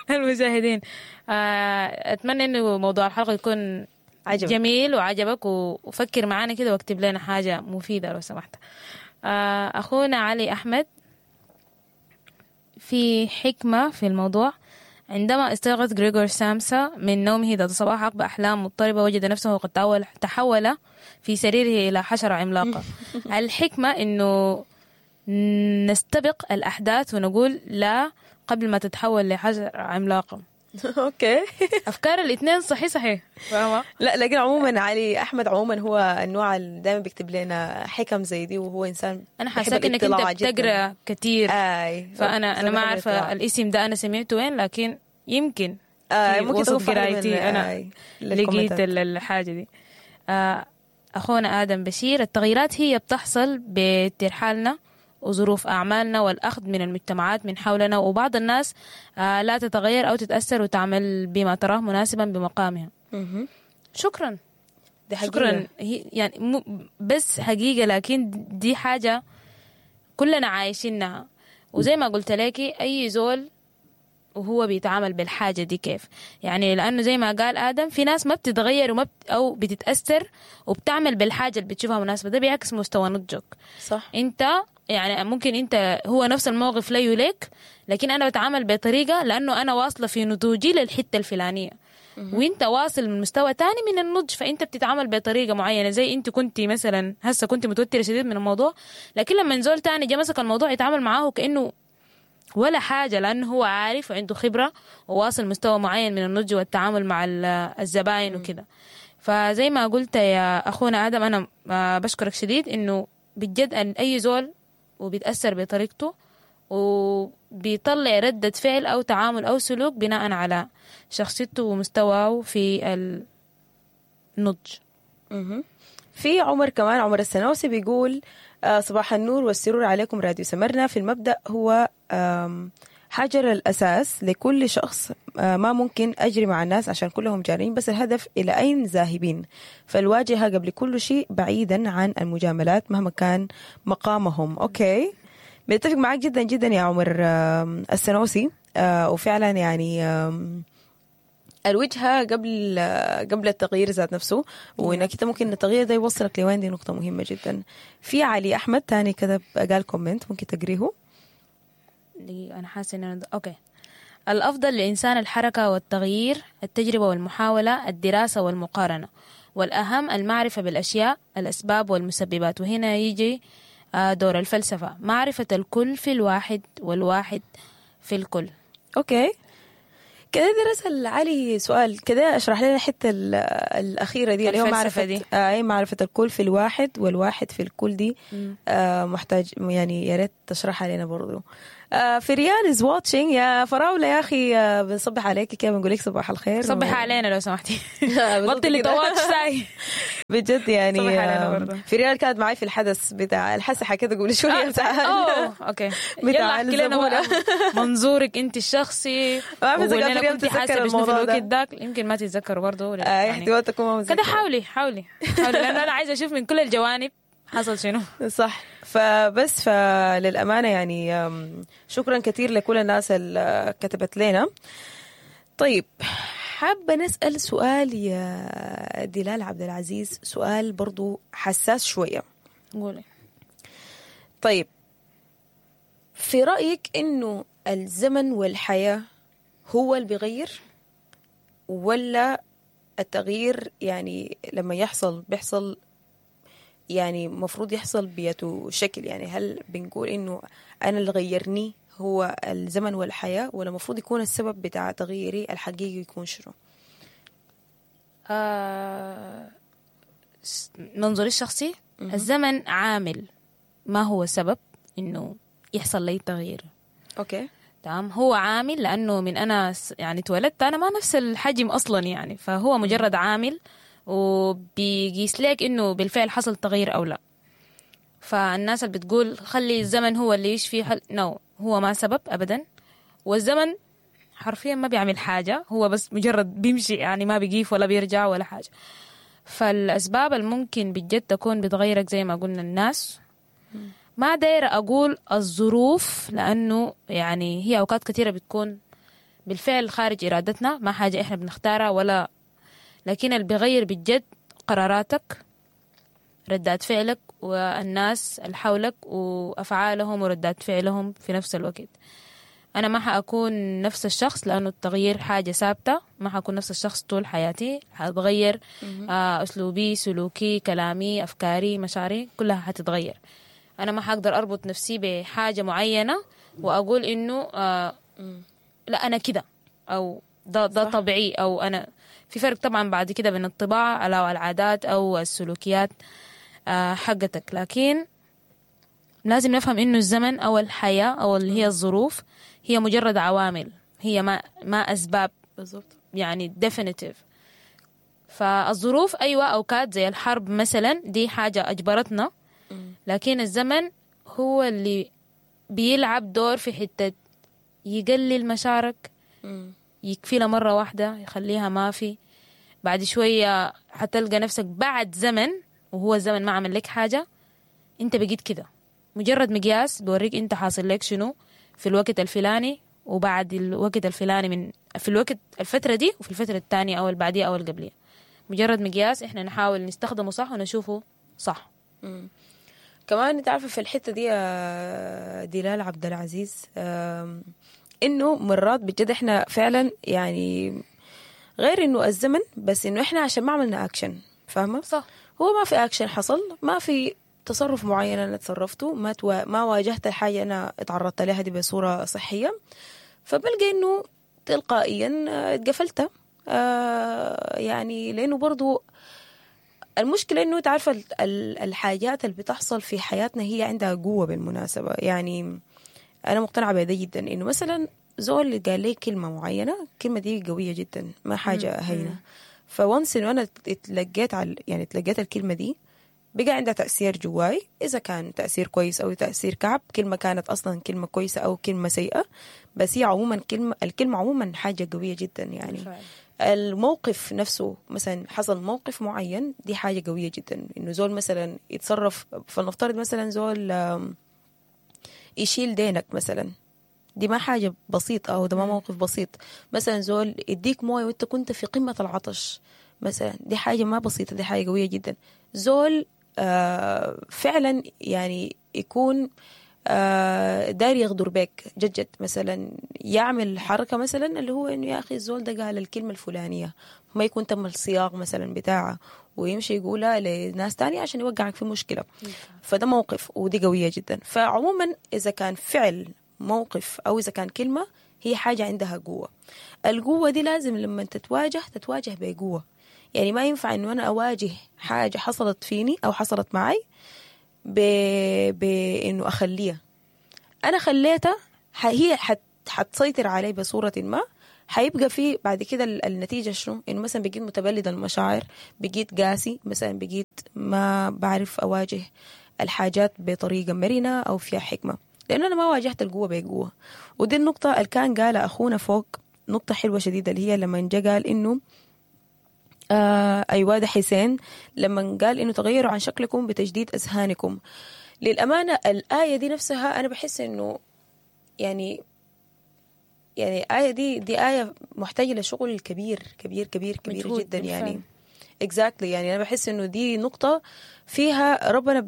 المشاهدين. اتمنى انه موضوع الحلقة يكون عجبك. جميل وعجبك، وفكر معانا كده واكتب لنا حاجة مفيدة لو سمحت. أخونا علي أحمد في حكمة في الموضوع: عندما استيقظ غريغور سامسا من نومه ذات صباح عقب أحلام مضطربة، وجد نفسه قد تحول في سريره إلى حشرة عملاقة. الحكمة إنه نستبق الأحداث ونقول لا قبل ما تتحول لحشرة عملاقة. okay افكار الاثنين صحيح فاهمه. لا لكن عموما علي احمد عموما هو النوع اللي دائما بيكتب لنا حكم زي دي، وهو انسان انا حاساك انك انت بتقرا كثير. فانا ما عارفه الاسم ده انا سمعته وين، لكن يمكن ممكن وسط قرايتي انا لقيت الحاجة دي. اخونا ادم بشير: التغييرات هي بتحصل بترحالنا وظروف أعمالنا والأخذ من المجتمعات من حولنا، وبعض الناس لا تتغير أو تتأثر وتعمل بما تراه مناسبا بمقامها. شكرا. دي حقيقة. شكرا. يعني بس حقيقة، لكن دي حاجة كلنا عايشينها، وزي ما قلت لك أي زول وهو بيتعامل بالحاجة دي كيف يعني. لأنه زي ما قال آدم في ناس ما بتتغير وما أو بتتأثر وبتعمل بالحاجة اللي بتشوفها مناسبة، ده بيعكس مستوى نضجك. صح. أنت يعني ممكن أنت هو نفس الموقف لا يليك، لكن أنا بتعامل بطريقة لأنه أنا واصلة في نضوجي للحتة الفلانية، وانت واصل من مستوى تاني من النضج، فانت بتتعامل بطريقة معينة. زي انت كنت مثلا هسه كنت متوترة شديد من الموضوع، لكن لما زول تاني جا مسك الموضوع يتعامل معاه كأنه ولا حاجة، لأنه هو عارف وعنده خبرة وواصل مستوى معين من النضج والتعامل مع الزباين وكده. فزي ما قلت يا أخونا آدم، أنا بشكرك شديد إنه بجد أن أي زول وبيتأثر بطريقته وبيطلع ردة فعل أو تعامل أو سلوك بناء على شخصيته ومستواه في النضج. في عمر كمان، عمر السنوسي بيقول صباح النور والسرور عليكم راديو سمرنا. في المبدأ هو حجر الأساس لكل شخص، ما ممكن أجري مع الناس عشان كلهم جارين، بس الهدف إلى أين ذاهبين، فالواجهة قبل كل شيء بعيدا عن المجاملات مهما كان مقامهم. okay بنتفق معاك جدا جدا يا عمر السنوسي. وفعلا يعني الوجهة قبل التغيير ذات نفسه، وإنك أنت ممكن التغيير ده يوصلك لوين، دي نقطة مهمة جدا. في علي أحمد تاني كتب قال comment ممكن تقريه. أنا حاسة إن okay. الأفضل للإنسان الحركة والتغيير، التجربة والمحاولة، الدراسة والمقارنة، والأهم المعرفة بالأشياء، الأسباب والمسببات. وهنا يجي دور الفلسفة، معرفة الكل في الواحد والواحد في الكل. okay كده رسل علي سؤال كده، اشرح لنا الحتة الاخيرة دي اللي هو معرفة دي. اي معرفة الكل في الواحد والواحد في الكل دي. محتاج يعني يا ريت تشرحها لنا برضو. فريال is watching يا فراوله يا اخي، بنصبح عليك كده، بنقول لك صباح الخير. صبح علينا لو سمحتي، بطلي ت watch ساي بجد يعني. فريال كانت معي في الحدث بتاع الحسحه كده قبل شوية بتاع okay بتاع الزبونه. منظورك انت الشخصي وقولي لنا كنت حاسه بشنو في الوقت داك، يمكن ما تتذكروا برضه يعني احتمال تكون ما كده. حاولي حاولي حاولي، لانه انا عايزه اشوف من كل الجوانب حصل شنو. صح. فبس فللأمانة يعني شكرا كثير لكل الناس اللي كتبت لنا. طيب حابة نسأل سؤال يا دلال عبد العزيز، سؤال برضو حساس شوية. قولي. طيب في رأيك إنه الزمن والحياة هو اللي بيغير، ولا التغيير يعني لما يحصل بيحصل يعني مفروض يحصل بيته شكل؟ يعني هل بنقول إنه أنا اللي غيرني هو الزمن والحياة، ولا مفروض يكون السبب بتاع تغييري الحقيقي يكون شنو؟ منظوري الشخصي الزمن عامل، ما هو سبب إنه يحصل لي تغيير. okay تمام، هو عامل لأنه من أنا يعني اتولدت أنا ما نفس الحجم أصلا يعني، فهو مجرد عامل وبيقيس لك إنه بالفعل حصل تغيير أو لا. فالناس اللي بتقول خلي الزمن هو اللي يشفي no، هو ما سبب أبدا. والزمن حرفيا ما بيعمل حاجة، هو بس مجرد بيمشي يعني، ما بيقيف ولا بيرجع ولا حاجة. فالأسباب الممكن بجد تكون بتغيرك زي ما قلنا الناس، ما دايرة أقول الظروف، لأنه يعني هي أوقات كثيرة بتكون بالفعل خارج إرادتنا، ما حاجة إحنا بنختارها ولا، لكن اللي بيغير بجد قراراتك، ردات فعلك، والناس اللي حولك وأفعالهم وردات فعلهم في نفس الوقت. أنا ما حأكون نفس الشخص لأنه التغيير حاجة ثابتة، ما حأكون نفس الشخص طول حياتي، حأتغير أسلوبي، سلوكي، كلامي، أفكاري، مشاعري، كلها حتتغير. أنا ما حأقدر أربط نفسي بحاجة معينة وأقول إنه لا أنا كده أو ده طبيعي أو أنا في فرق طبعا بعد كده بين الطباع أو العادات أو السلوكيات حقتك. لكن لازم نفهم إنه الزمن أو الحياة أو اللي هي الظروف هي مجرد عوامل، هي ما أسباب بالضبط يعني definitive. فالظروف أيوة أوقات زي الحرب مثلا دي حاجة أجبرتنا، لكن الزمن هو اللي بيلعب دور في حتة يقلل مشاعرك، يكفيلها مرة واحدة يخليها ما في، بعد شوية حتلقى نفسك بعد زمن وهو الزمن ما عمل لك حاجة، انت بقيت كده. مجرد مقياس بوريك انت حاصل لك شنو في الوقت الفلاني وبعد الوقت الفلاني، من في الوقت الفترة دي وفي الفترة الثانية أو البعدية أو القبلية. مجرد مقياس احنا نحاول نستخدمه صح ونشوفه صح. كمان انت عارفة في الحتة دي يا دلال عبد العزيز، انه مرات بجد احنا فعلا يعني غير انه الزمن، بس انه احنا عشان ما عملنا اكشن، فاهمة؟ صح. هو ما في اكشن حصل، ما في تصرف معين انا تصرفته، ما واجهت الحاجة انا اتعرضت لها دي بصورة صحية، فبلقى انه تلقائيا اتقفلت. يعني لانه برضو المشكلة انه تعرف الحاجات اللي بتحصل في حياتنا هي عندها قوة بالمناسبة. يعني انا مقتنعة بهذا جدا، انه مثلا زول قال لي كلمة معينة، الكلمة دي قوية جدا، ما حاجة هينة. فونس انه انا اتلقيت على يعني اتلقيت الكلمة دي، بقى عندها تأثير جواي، إذا كان تأثير كويس أو تأثير كعب. كلمة كانت أصلا كلمة كويسة أو كلمة سيئة، بس هي عموما الكلمة عموما حاجة قوية جدا يعني. بالفعل. الموقف نفسه مثلا حصل موقف معين، دي حاجة قوية جدا، إنه زول مثلا يتصرف، فلنفترض مثلا زول يشيل دينك مثلا، دي ما حاجة بسيطة أو ده ما موقف بسيط. مثلا زول يديك موية وانت كنت في قمة العطش مثلا، دي حاجة ما بسيطة، دي حاجة قوية جدا. زول فعلا يعني يكون داير يغدر بك جد مثلا، يعمل حركة مثلا اللي هو إنه يا أخي الزول ده قال الكلمة الفلانية، ما يكون تم الصياغ مثلا بتاعه ويمشي يقولها لناس تانية عشان يوقعك في مشكلة. فده موقف ودي قوية جدا. فعموما إذا كان فعل موقف أو إذا كان كلمة، هي حاجة عندها قوة. القوة دي لازم لما تتواجه تتواجه بقوة. يعني ما ينفع إنه أنا أواجه حاجة حصلت فيني أو حصلت معي بإنه أخليها. أنا خليتها، هي حتسيطر علي بصورة ما. حيبقى في بعد كده النتيجة شنو؟ إنه مثلا بقيت متبلد المشاعر، بقيت قاسي، مثلا بقيت ما بعرف أواجه الحاجات بطريقة مرنة أو فيها حكمة، لأنه أنا ما واجهت القوة بقوة. ودي النقطة اللي كان قالها أخونا فوق، نقطة حلوة شديدة، اللي هي لما جا قال إنه أيوة ده حسين، لما قال إنه تغيروا عن شكلكم بتجديد أذهانكم. للأمانة الآية دي نفسها أنا بحس إنه يعني آية دي آية محتاجة لشغل كبير كبير كبير كبير جدا يعني. Exactly. يعني أنا بحس إنه دي نقطة فيها ربنا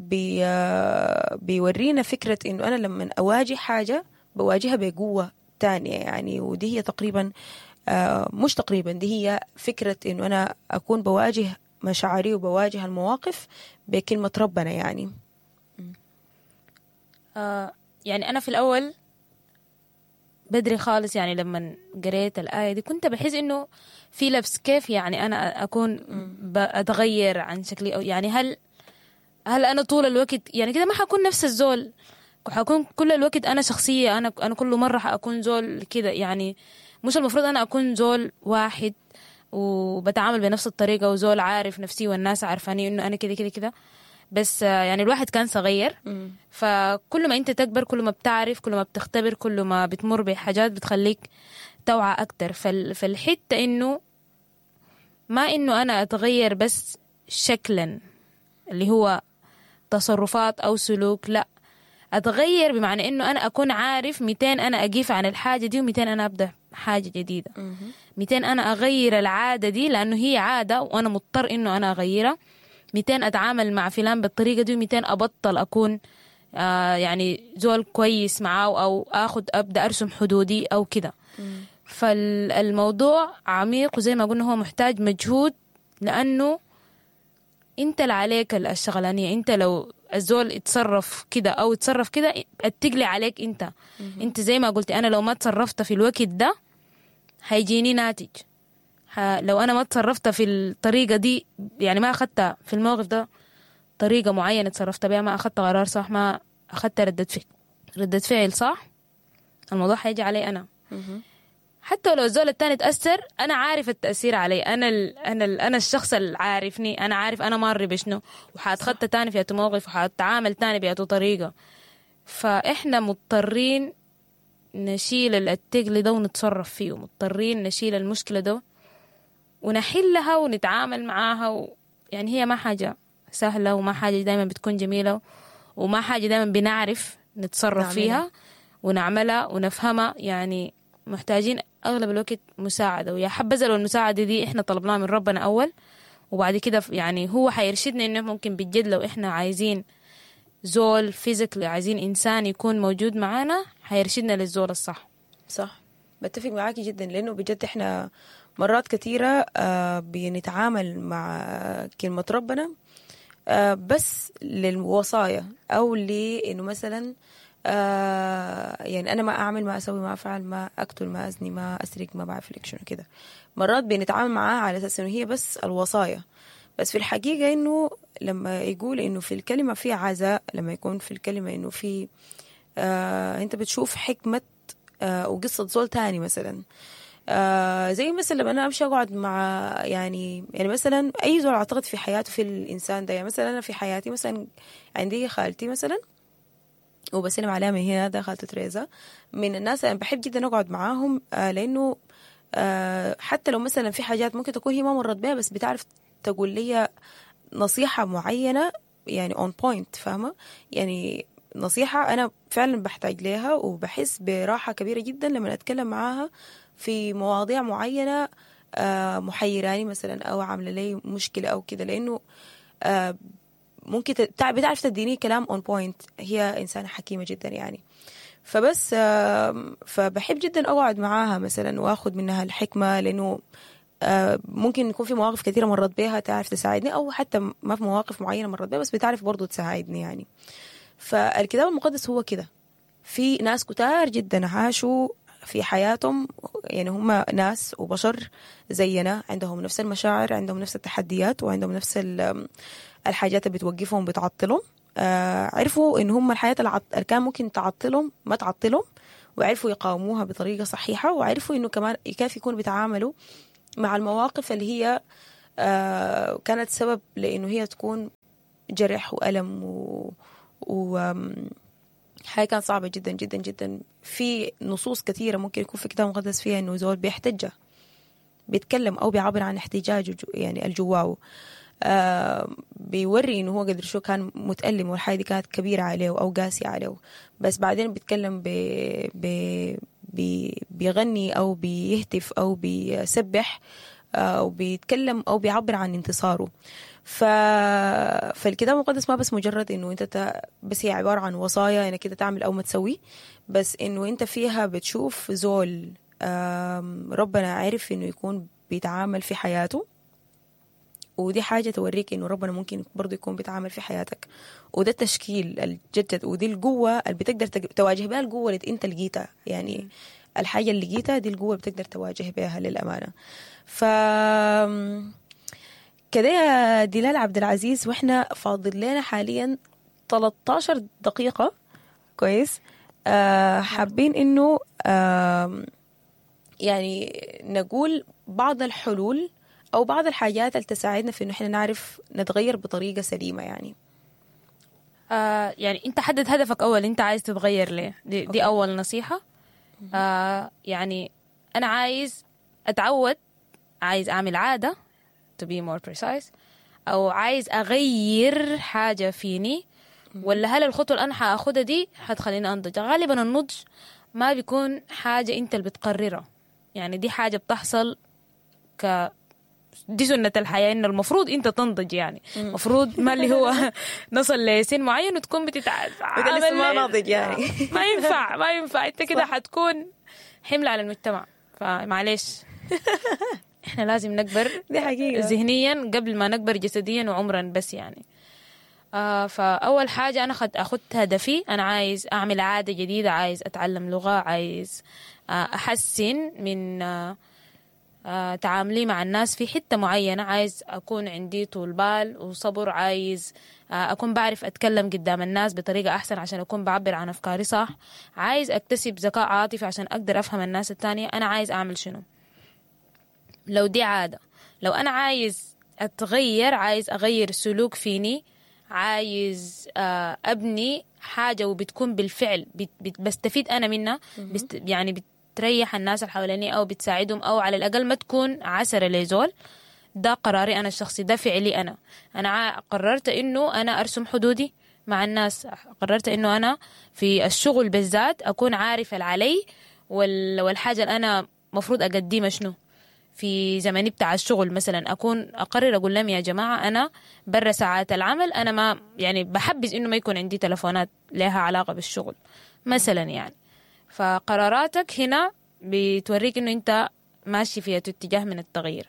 بيورينا فكرة إنه أنا لما أواجه حاجة بواجهها بقوة تانية يعني. ودي هي تقريبا مش تقريبا، دي هي فكرة إنه أنا أكون بواجه مشاعري وبواجه المواقف بكلمة ربنا يعني. يعني أنا في الأول بدري خالص يعني لما قريت الآية دي كنت بحس إنه في لبس، كيف يعني أنا أكون بتغير عن شكلي، أو يعني هل أنا طول الوقت يعني كده ما حكون نفس الزول، حكون كل الوقت أنا شخصية، أنا كل مرة حأكون زول كده يعني. مش المفروض أنا أكون زول واحد وبتعامل بنفس الطريقة وزول عارف نفسي والناس عارفاني إنه أنا كده كده كده بس. يعني الواحد كان صغير، فكل ما أنت تكبر كل ما بتعرف، كل ما بتختبر، كل ما بتمر بحاجات بتخليك توعى أكتر. فالحتة إنه ما إنه أنا أتغير بس شكلا اللي هو تصرفات أو سلوك، لا، أتغير بمعنى إنه أنا أكون عارف 200 أنا أقيف عن الحاجة دي، و200 أنا أبدأ حاجة جديدة، 200 أنا أغير العادة دي لأنه هي عادة وأنا مضطر إنه أنا أغيرها، 200 أتعامل مع فلان بالطريقة دي، و200 أبطل أكون يعني زول كويس معاه، أو أخد أبدأ أرسم حدودي أو كده. فالموضوع عميق، وزي ما قلنا هو محتاج مجهود، لأنه أنت اللي عليك الشغلانية. أنت لو الزول اتصرف كده أو اتصرف كده التقلي عليك أنت. أنت زي ما قلت، أنا لو ما تصرفت في الوقت ده هيجيني ناتج. لو أنا ما تصرفت في الطريقة دي، يعني ما أخذت في الموقف ده طريقة معينة تصرفت بها، ما أخذت قرار صح، ما أخذت ردة فعل صح، الموضوع هيجي علي أنا. حتى لو الزول التاني تأثر، أنا عارف التأثير علي أنا، أنا الشخص اللي عارفني، أنا عارف أنا مار بشنو، وحاتخطى تاني في موقف، وحاتعامل تاني بأي طريقة. فإحنا مضطرين نشيل التقل ده ونتصرف فيه، مضطرين نشيل المشكلة ده ونحلها ونتعامل معاها يعني هي ما حاجة سهلة، وما حاجة دايما بتكون جميلة، وما حاجة دايما بنعرف نتصرف فيها ونعملها ونفهمها. يعني محتاجين أغلب الوقت مساعدة، ويا حبذا لو المساعدة دي إحنا طلبناها من ربنا أول، وبعد كده يعني هو حيرشدنا إنه ممكن بجد لو إحنا عايزين زول physically، عايزين إنسان يكون موجود معانا، حيرشدنا للزول الصح. صح، بتفق معاكي جدا، لأنه بجد إحنا مرات كثيرة بنتعامل مع كلمة ربنا بس للوصايا، أو لأنه مثلا يعني أنا ما أعمل، ما أسوي، ما أفعل، ما أقتل، ما أزني، ما أسرق، ما بعرف لك شنو كده. مرات بنتعامل معاها على أساس إنه هي بس الوصايا، بس في الحقيقة إنه لما يقول إنه في الكلمة في عزاء، لما يكون في الكلمة إنه في أنت بتشوف حكمة وقصة زول تاني مثلا. زي مثلا لما أنا أمشي أقعد مع يعني مثلا أي زول أعتقد في حياته في الإنسان ده، يعني مثلا أنا في حياتي مثلا عندي خالتي مثلا، وبسلم عليها من هنا، ده خالتي تريزا، من الناس أنا بحب جدا أقعد معاهم، لأنه حتى لو مثلا في حاجات ممكن تكون هي ما مرت بها، بس بتعرف تقول لي نصيحة معينة يعني on point، فاهمة؟ يعني نصيحة أنا فعلا بحتاج لها، وبحس براحة كبيرة جدا لما أتكلم معاها في مواضيع معينة محيراني مثلا، أو عاملة لي مشكلة أو كده، لأنه ممكن بتعرف تديني كلام on point. هي إنسانة حكيمة جدا يعني. فبس فبحب جدا أقعد معاها مثلا وأخذ منها الحكمة، لأنه ممكن يكون في مواقف كثيرة مرت بيها تعرف تساعدني، أو حتى ما في مواقف معينة مرت بيها بس بتعرف برضو تساعدني يعني. فالكتاب المقدس هو كده، في ناس كتار جدا عاشوا في حياتهم، يعني هم ناس وبشر زينا، عندهم نفس المشاعر، عندهم نفس التحديات، وعندهم نفس الحاجات اللي بتوقفهم بتعطلهم. عرفوا إن هم الحياة اللي كان ممكن تعطلهم ما تعطلهم، وعرفوا يقاوموها بطريقة صحيحة، وعرفوا إنه كمان كيف يكونوا بيتعاملوا مع المواقف اللي هي كانت سبب لإنه هي تكون جرح وألم و حاجة كانت صعبة جدا جدا جدا. في نصوص كثيرة ممكن يكون في كتاب مقدس فيها إنه زول بيحتج، بيتكلم أو بيعبر عن احتجاجه يعني الجواو، بيوري إنه هو قدر شو كان متألم والحاجة دي كانت كبيرة عليه أو قاسية عليه، بس بعدين بيتكلم بيغني أو بيهتف أو بيسبح أو بيتكلم أو بيعبر عن انتصاره. فالكتاب المقدس ما بس مجرد إنه أنت بس هي عبارة عن وصايا إنك كده تعمل أو ما تسوي، بس إنه أنت فيها بتشوف زول ربنا عارف إنه يكون بيتعامل في حياته، ودي حاجة توريك إنه ربنا ممكن برضو يكون بيتعامل في حياتك. وده التشكيل الجدد، ودي القوة اللي بتقدر تواجه بها القوة اللي أنت لقيتها، يعني الحاجة اللي لقيتها دي القوة اللي بتقدر تواجه بها للأمانة. ف كده يا دلال عبد العزيز، وإحنا فاضل لنا حاليا 13 دقيقة. كويس. حابين إنه يعني نقول بعض الحلول أو بعض الحاجات اللي تساعدنا في إنه إحنا نعرف نتغير بطريقة سليمة. يعني يعني أنت حدد هدفك أول، أنت عايز تتغير ليه؟ دي أول نصيحة. يعني أنا عايز أتعود، عايز أعمل عادة to be more precise، أو عايز أغير حاجة فيني، ولا هل الخطوة اللي أنا حأخدها دي حتخليني أنضج؟ غالبا النضج ما بيكون حاجة أنت اللي بتقررها، يعني دي حاجة بتحصل دي سنة الحياة، إنه المفروض أنت تنضج، يعني المفروض ما اللي هو نصل لسن معين وتكون بتتعامل ما ناضج، يعني ما ينفع أنت كده حتكون حمل على المجتمع. فمعليش إحنا لازم نكبر دي حقيقة ذهنيا قبل ما نكبر جسديا وعمرا، بس يعني فأول حاجة أنا أخدت هدفي، أنا عايز أعمل عادة جديدة، عايز أتعلم لغة، عايز أحسن من تعاملي مع الناس في حتة معينة، عايز أكون عندي طول بال وصبر، عايز أكون بعرف أتكلم قدام الناس بطريقة أحسن عشان أكون بعبر عن أفكاري صح، عايز أكتسب ذكاء عاطفي عشان أقدر أفهم الناس التانية. أنا عايز أعمل شنو؟ لو دي عادة، لو أنا عايز أتغير، عايز أغير سلوك فيني، عايز أبني حاجة وبتكون بالفعل بستفيد أنا منها، يعني بتريح الناس اللي حواليني أو بتساعدهم، أو على الأقل ما تكون عسرة لزول. ده قراري أنا الشخصي، ده فعلي أنا. أنا قررت إنه أنا أرسم حدودي مع الناس، قررت إنه أنا في الشغل بالذات أكون عارفة العلي والحاجة اللي أنا مفروض أقدمها شنو في زمني بتاع الشغل. مثلا أكون أقرر أقول لهم يا جماعة أنا برا ساعات العمل، أنا ما يعني بحبذ إنه ما يكون عندي تلفونات لها علاقة بالشغل مثلا يعني. فقراراتك هنا بتوريك إنه أنت ماشي في اتجاه من التغيير.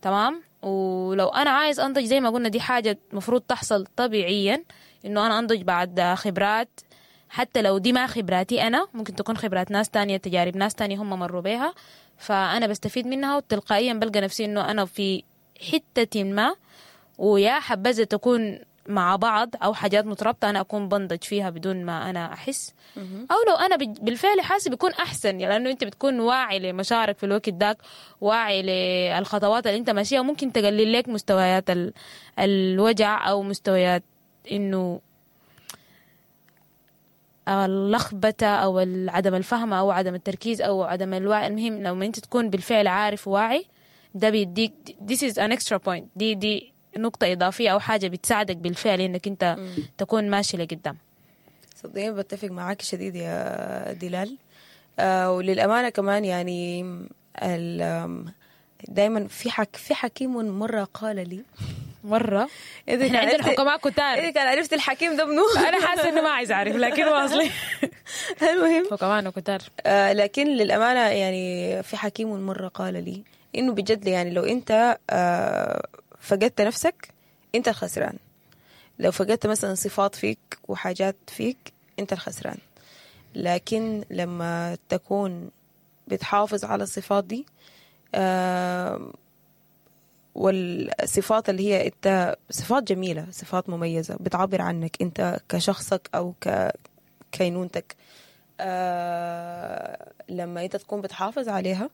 تمام. ولو أنا عايز أنضج زي ما قلنا دي حاجة مفروض تحصل طبيعيا، إنه أنا أنضج بعد خبرات، حتى لو دي ما خبراتي أنا، ممكن تكون خبرات ناس تانية، تجارب ناس تانية هم مروا بيها، فأنا بستفيد منها، وتلقائيا بلقى نفسي إنه أنا في حتة ما، ويا حبذا تكون مع بعض أو حاجات مترابطة أنا أكون بنضج فيها بدون ما أنا أحس، أو لو أنا بالفعل حاسس بيكون أحسن، يعني لأنه أنت بتكون واعي لمشاعرك في الوقت داك، واعي للخطوات اللي أنت ماشيها، وممكن تقلل لك مستويات الوجع أو مستويات إنه اللخبطة أو عدم الفهم أو عدم التركيز أو عدم الوعي. المهم لو ما أنت تكون بالفعل عارف وواعي، ده بيديك this is an extra point، دي نقطة إضافية أو حاجة بتساعدك بالفعل إنك أنت تكون ماشي لقدام. صدقيني بتفق معاك شديد يا دلال. وللأمانة كمان يعني دايما في حكيم مرة قال لي مرة، إحنا عندنا حكماء كتار. إذا كان عرفت الحكيم ده منو؟ أنا حاسة إنه ما عايز أعرف، لكن واصلي. المهم حكماء كتار. لكن للأمانة يعني في حكيم مرة قال لي إنه بجد يعني لو أنت فقدت نفسك أنت الخسران، لو فقدت مثلا صفات فيك وحاجات فيك أنت الخسران، لكن لما تكون بتحافظ على الصفات دي، والصفات اللي هي انت صفات جميلة، صفات مميزة بتعبر عنك انت كشخصك او ككينونتك، لما انت تكون بتحافظ عليها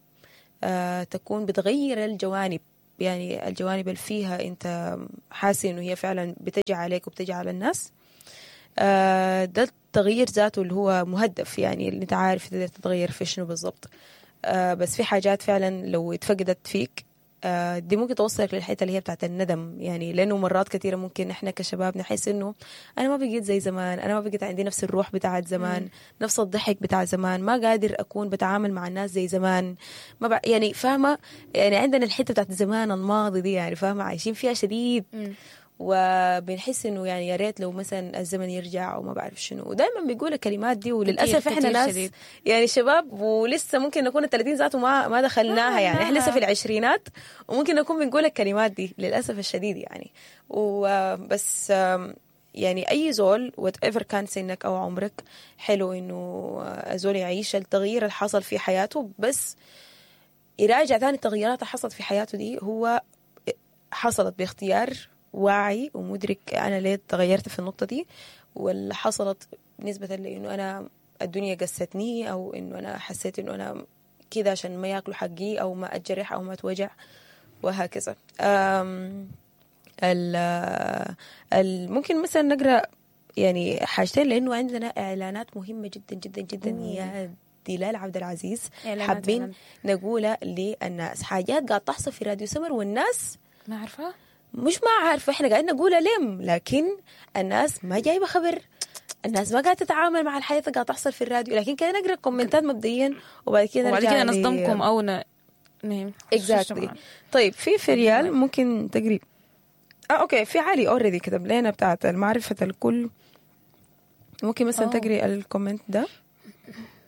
تكون بتغير الجوانب، يعني الجوانب اللي فيها انت حاسس انه هي فعلا بتجي عليك وبتجي على الناس. ده التغيير ذاته اللي هو مهدف، يعني اللي انت عارف تقدر تتغير في شنو بالضبط. بس في حاجات فعلا لو اتفقدت فيك دي ممكن توصلك للحتة اللي هي بتاعت الندم، يعني لانه مرات كثيرة ممكن احنا كشباب نحس انه انا ما بقيت زي زمان، انا ما بقيت عندي نفس الروح بتاعت زمان، نفس الضحك بتاع زمان، ما قادر اكون بتعامل مع الناس زي زمان، ما يعني فاهمه، يعني عندنا الحتة بتاعت زمان الماضي دي، يعني فاهمه عايشين فيها شديد، وبنحس انه يعني يا ريت لو مثلا الزمن يرجع وما بعرف شنو، ودائما بيقول الكلمات دي، وللاسف احنا ناس شديد. يعني شباب ولسه ممكن نكون ال30 ذاته ما دخلناها، يعني احنا لسه في العشرينات وممكن نكون بنقول الكلمات دي للاسف الشديد يعني. وبس يعني اي زول whatever كان سنك او عمرك، حلو انه زول يعيش التغيير اللي حصل في حياته، بس يراجع ثاني التغييرات اللي حصلت في حياته دي هو حصلت باختيار واعي ومدرك أنا ليه تغيرت في النقطة دي، ولا حصلت نسبة لأنه أنا الدنيا قستني، أو إنه أنا حسيت إنه أنا كده عشان ما يأكلوا حقي أو ما أتجرح أو ما أتوجع وهكذا. ممكن مثلا نقرأ يعني حاجتين، لأنه عندنا إعلانات مهمة جدا جدا جدا يا دلال عبد العزيز، حابين نقولها للناس، حاجات قاعد تحصل في راديو سمر والناس ما عارفة، مش ما عارفة، احنا قاعدين نقولها لم، لكن الناس ما جايبة خبر، الناس ما قاعدة تتعامل مع الحياة اللي قاعدة تحصل في الراديو. لكن كده نقرأ كومنتات مبدئيا وبعد كده نرجع وبعد كده نصدمكم او نعم exactly. طيب في فريال ممكن تقري okay، في علي already كتب لنا بتاعت المعرفة الكل، ممكن مثلا تقري ال comment ده.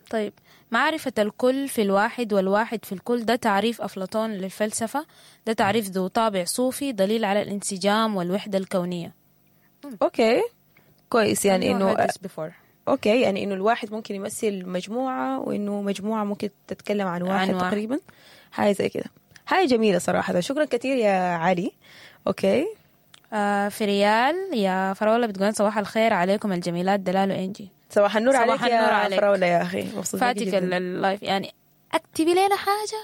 طيب، معرفة الكل في الواحد والواحد في الكل، ده تعريف أفلاطون للفلسفة، ده تعريف ذو طابع صوفي، دليل على الانسجام والوحدة الكونية. okay كويس، يعني إنه okay، يعني إنه الواحد ممكن يمثل مجموعة، وإنه مجموعة ممكن تتكلم عن واحد تقريبا، حاجة زي كده، حاجة جميلة صراحة. شكرا كثير يا علي. okay فريال يا فراولة بتقول صباح الخير عليكم الجميلات دلال وإنجي. صباح النور عليك يا فراولة يا أخي، فاتك ال live، يعني اكتبي لنا حاجة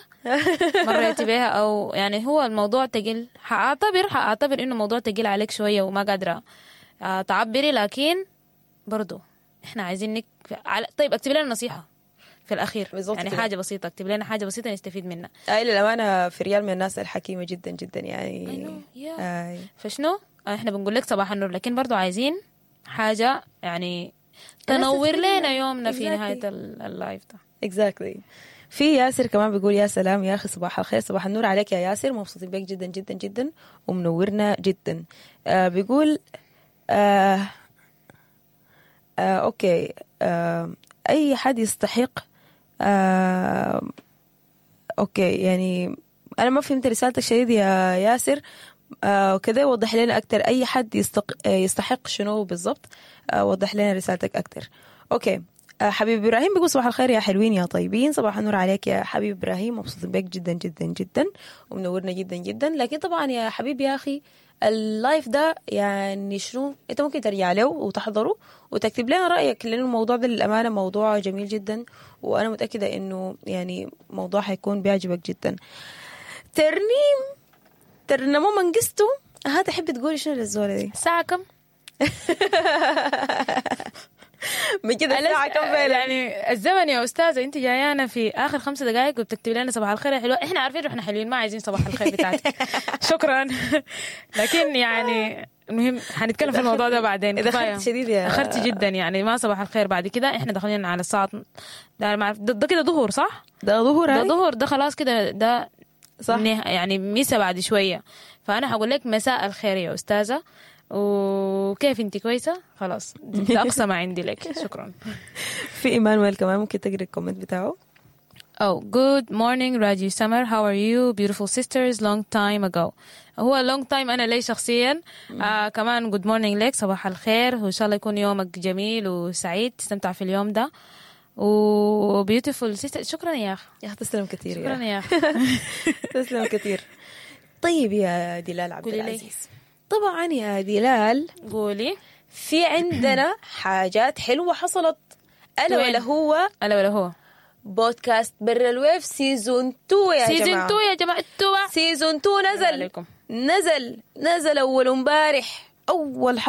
مريتي بيها، أو يعني هو الموضوع تقل، حأعتبر إنه موضوع تقيل عليك شوية وما قادرة تعبري، لكن برضو إحنا عايزينك طيب اكتبي لنا نصيحة في الأخير، يعني كده. حاجة بسيطة، اكتب لنا حاجة بسيطة نستفيد منها. أي للأمانة فريال من الناس الحكيمة جدا جدا يعني. فشنو إحنا بنقول لك صباح النور، لكن برضو عايزين حاجة يعني تنور لنا يومنا في نهاية ال live ده. Exactly. في ياسر كمان بيقول يا سلام يا أخي، صباح الخير، صباح النور عليك يا ياسر، مبسوطين بك جدا جدا جدا ومنورنا جدا. بيقول okay، أي حد يستحق okay، يعني أنا ما فهمت رسالتك شديد يا ياسر، وكذا وضح لنا أكتر، أي حد يستحق شنو بالضبط، وضح لنا رسالتك أكتر. okay، حبيب إبراهيم بيقول صباح الخير يا حلوين يا طيبين، صباح النور عليك يا حبيب إبراهيم، مبسوط بك جدا جدا جدا ومنورنا جدا جدا. لكن طبعا يا حبيب يا أخي ال live ده يعني شنو، انت ممكن ترجع له وتحضره وتكتب لنا رأيك، لأنه الموضوع ده للأمانة موضوع جميل جدا، وأنا متأكدة إنه يعني موضوع حيكون بيعجبك جدا. ترنيم ترنمو منقستو، ها تحب تقولي شنو للزولة دي؟ الساعة كم؟ من كده الساعة كم فعلا؟ يعني الزمن يا أستاذة، أنت جايانا في آخر 5 دقائق وبتكتبي لنا صباح الخير يا حلوة، إحنا عارفين إحنا حلوين، ما عايزين صباح الخير بتاعتك. شكرا. لكن يعني المهم حنتكلم في الموضوع ده بعدين. إذا أخرت شديد يا أخرت جدا، يعني ما صباح الخير بعد كده، إحنا داخلين على الساعة ده كده ظهر صح؟ ده ظهر، ده ظهر، ده خلاص كده، ده صح يعني مسا بعد شوية. فأنا هقول لك مساء الخير يا أستاذة، وكيف انت كويسة؟ خلاص ده أقصى ما عندي لك، شكرا. في إيمانويل كمان ممكن تقري ال comment بتاعه. Oh, good morning Radio Summer, how are you beautiful sisters, long time ago. هو long time أنا لي شخصيا. كمان good morning لك، صباح الخير، وإن شاء الله يكون يومك جميل وسعيد، تستمتع في اليوم ده. و beautiful sister. شكرا يا اخ. يا اخي تسلم كثير. شكرا يا يا اخ. تسلم كثير. طيب يا دلال عبد قولي لي. العزيز، طبعا يا دلال قولي. في عندنا حاجات حلوة حصلت، الا وين؟ ولا هو الا ولا هو بودكاست برا ال wave season 2 يا season جماعة. 2 يا جماعه، 2. season 2 نزل. عليكم. نزل اول امبارح، اول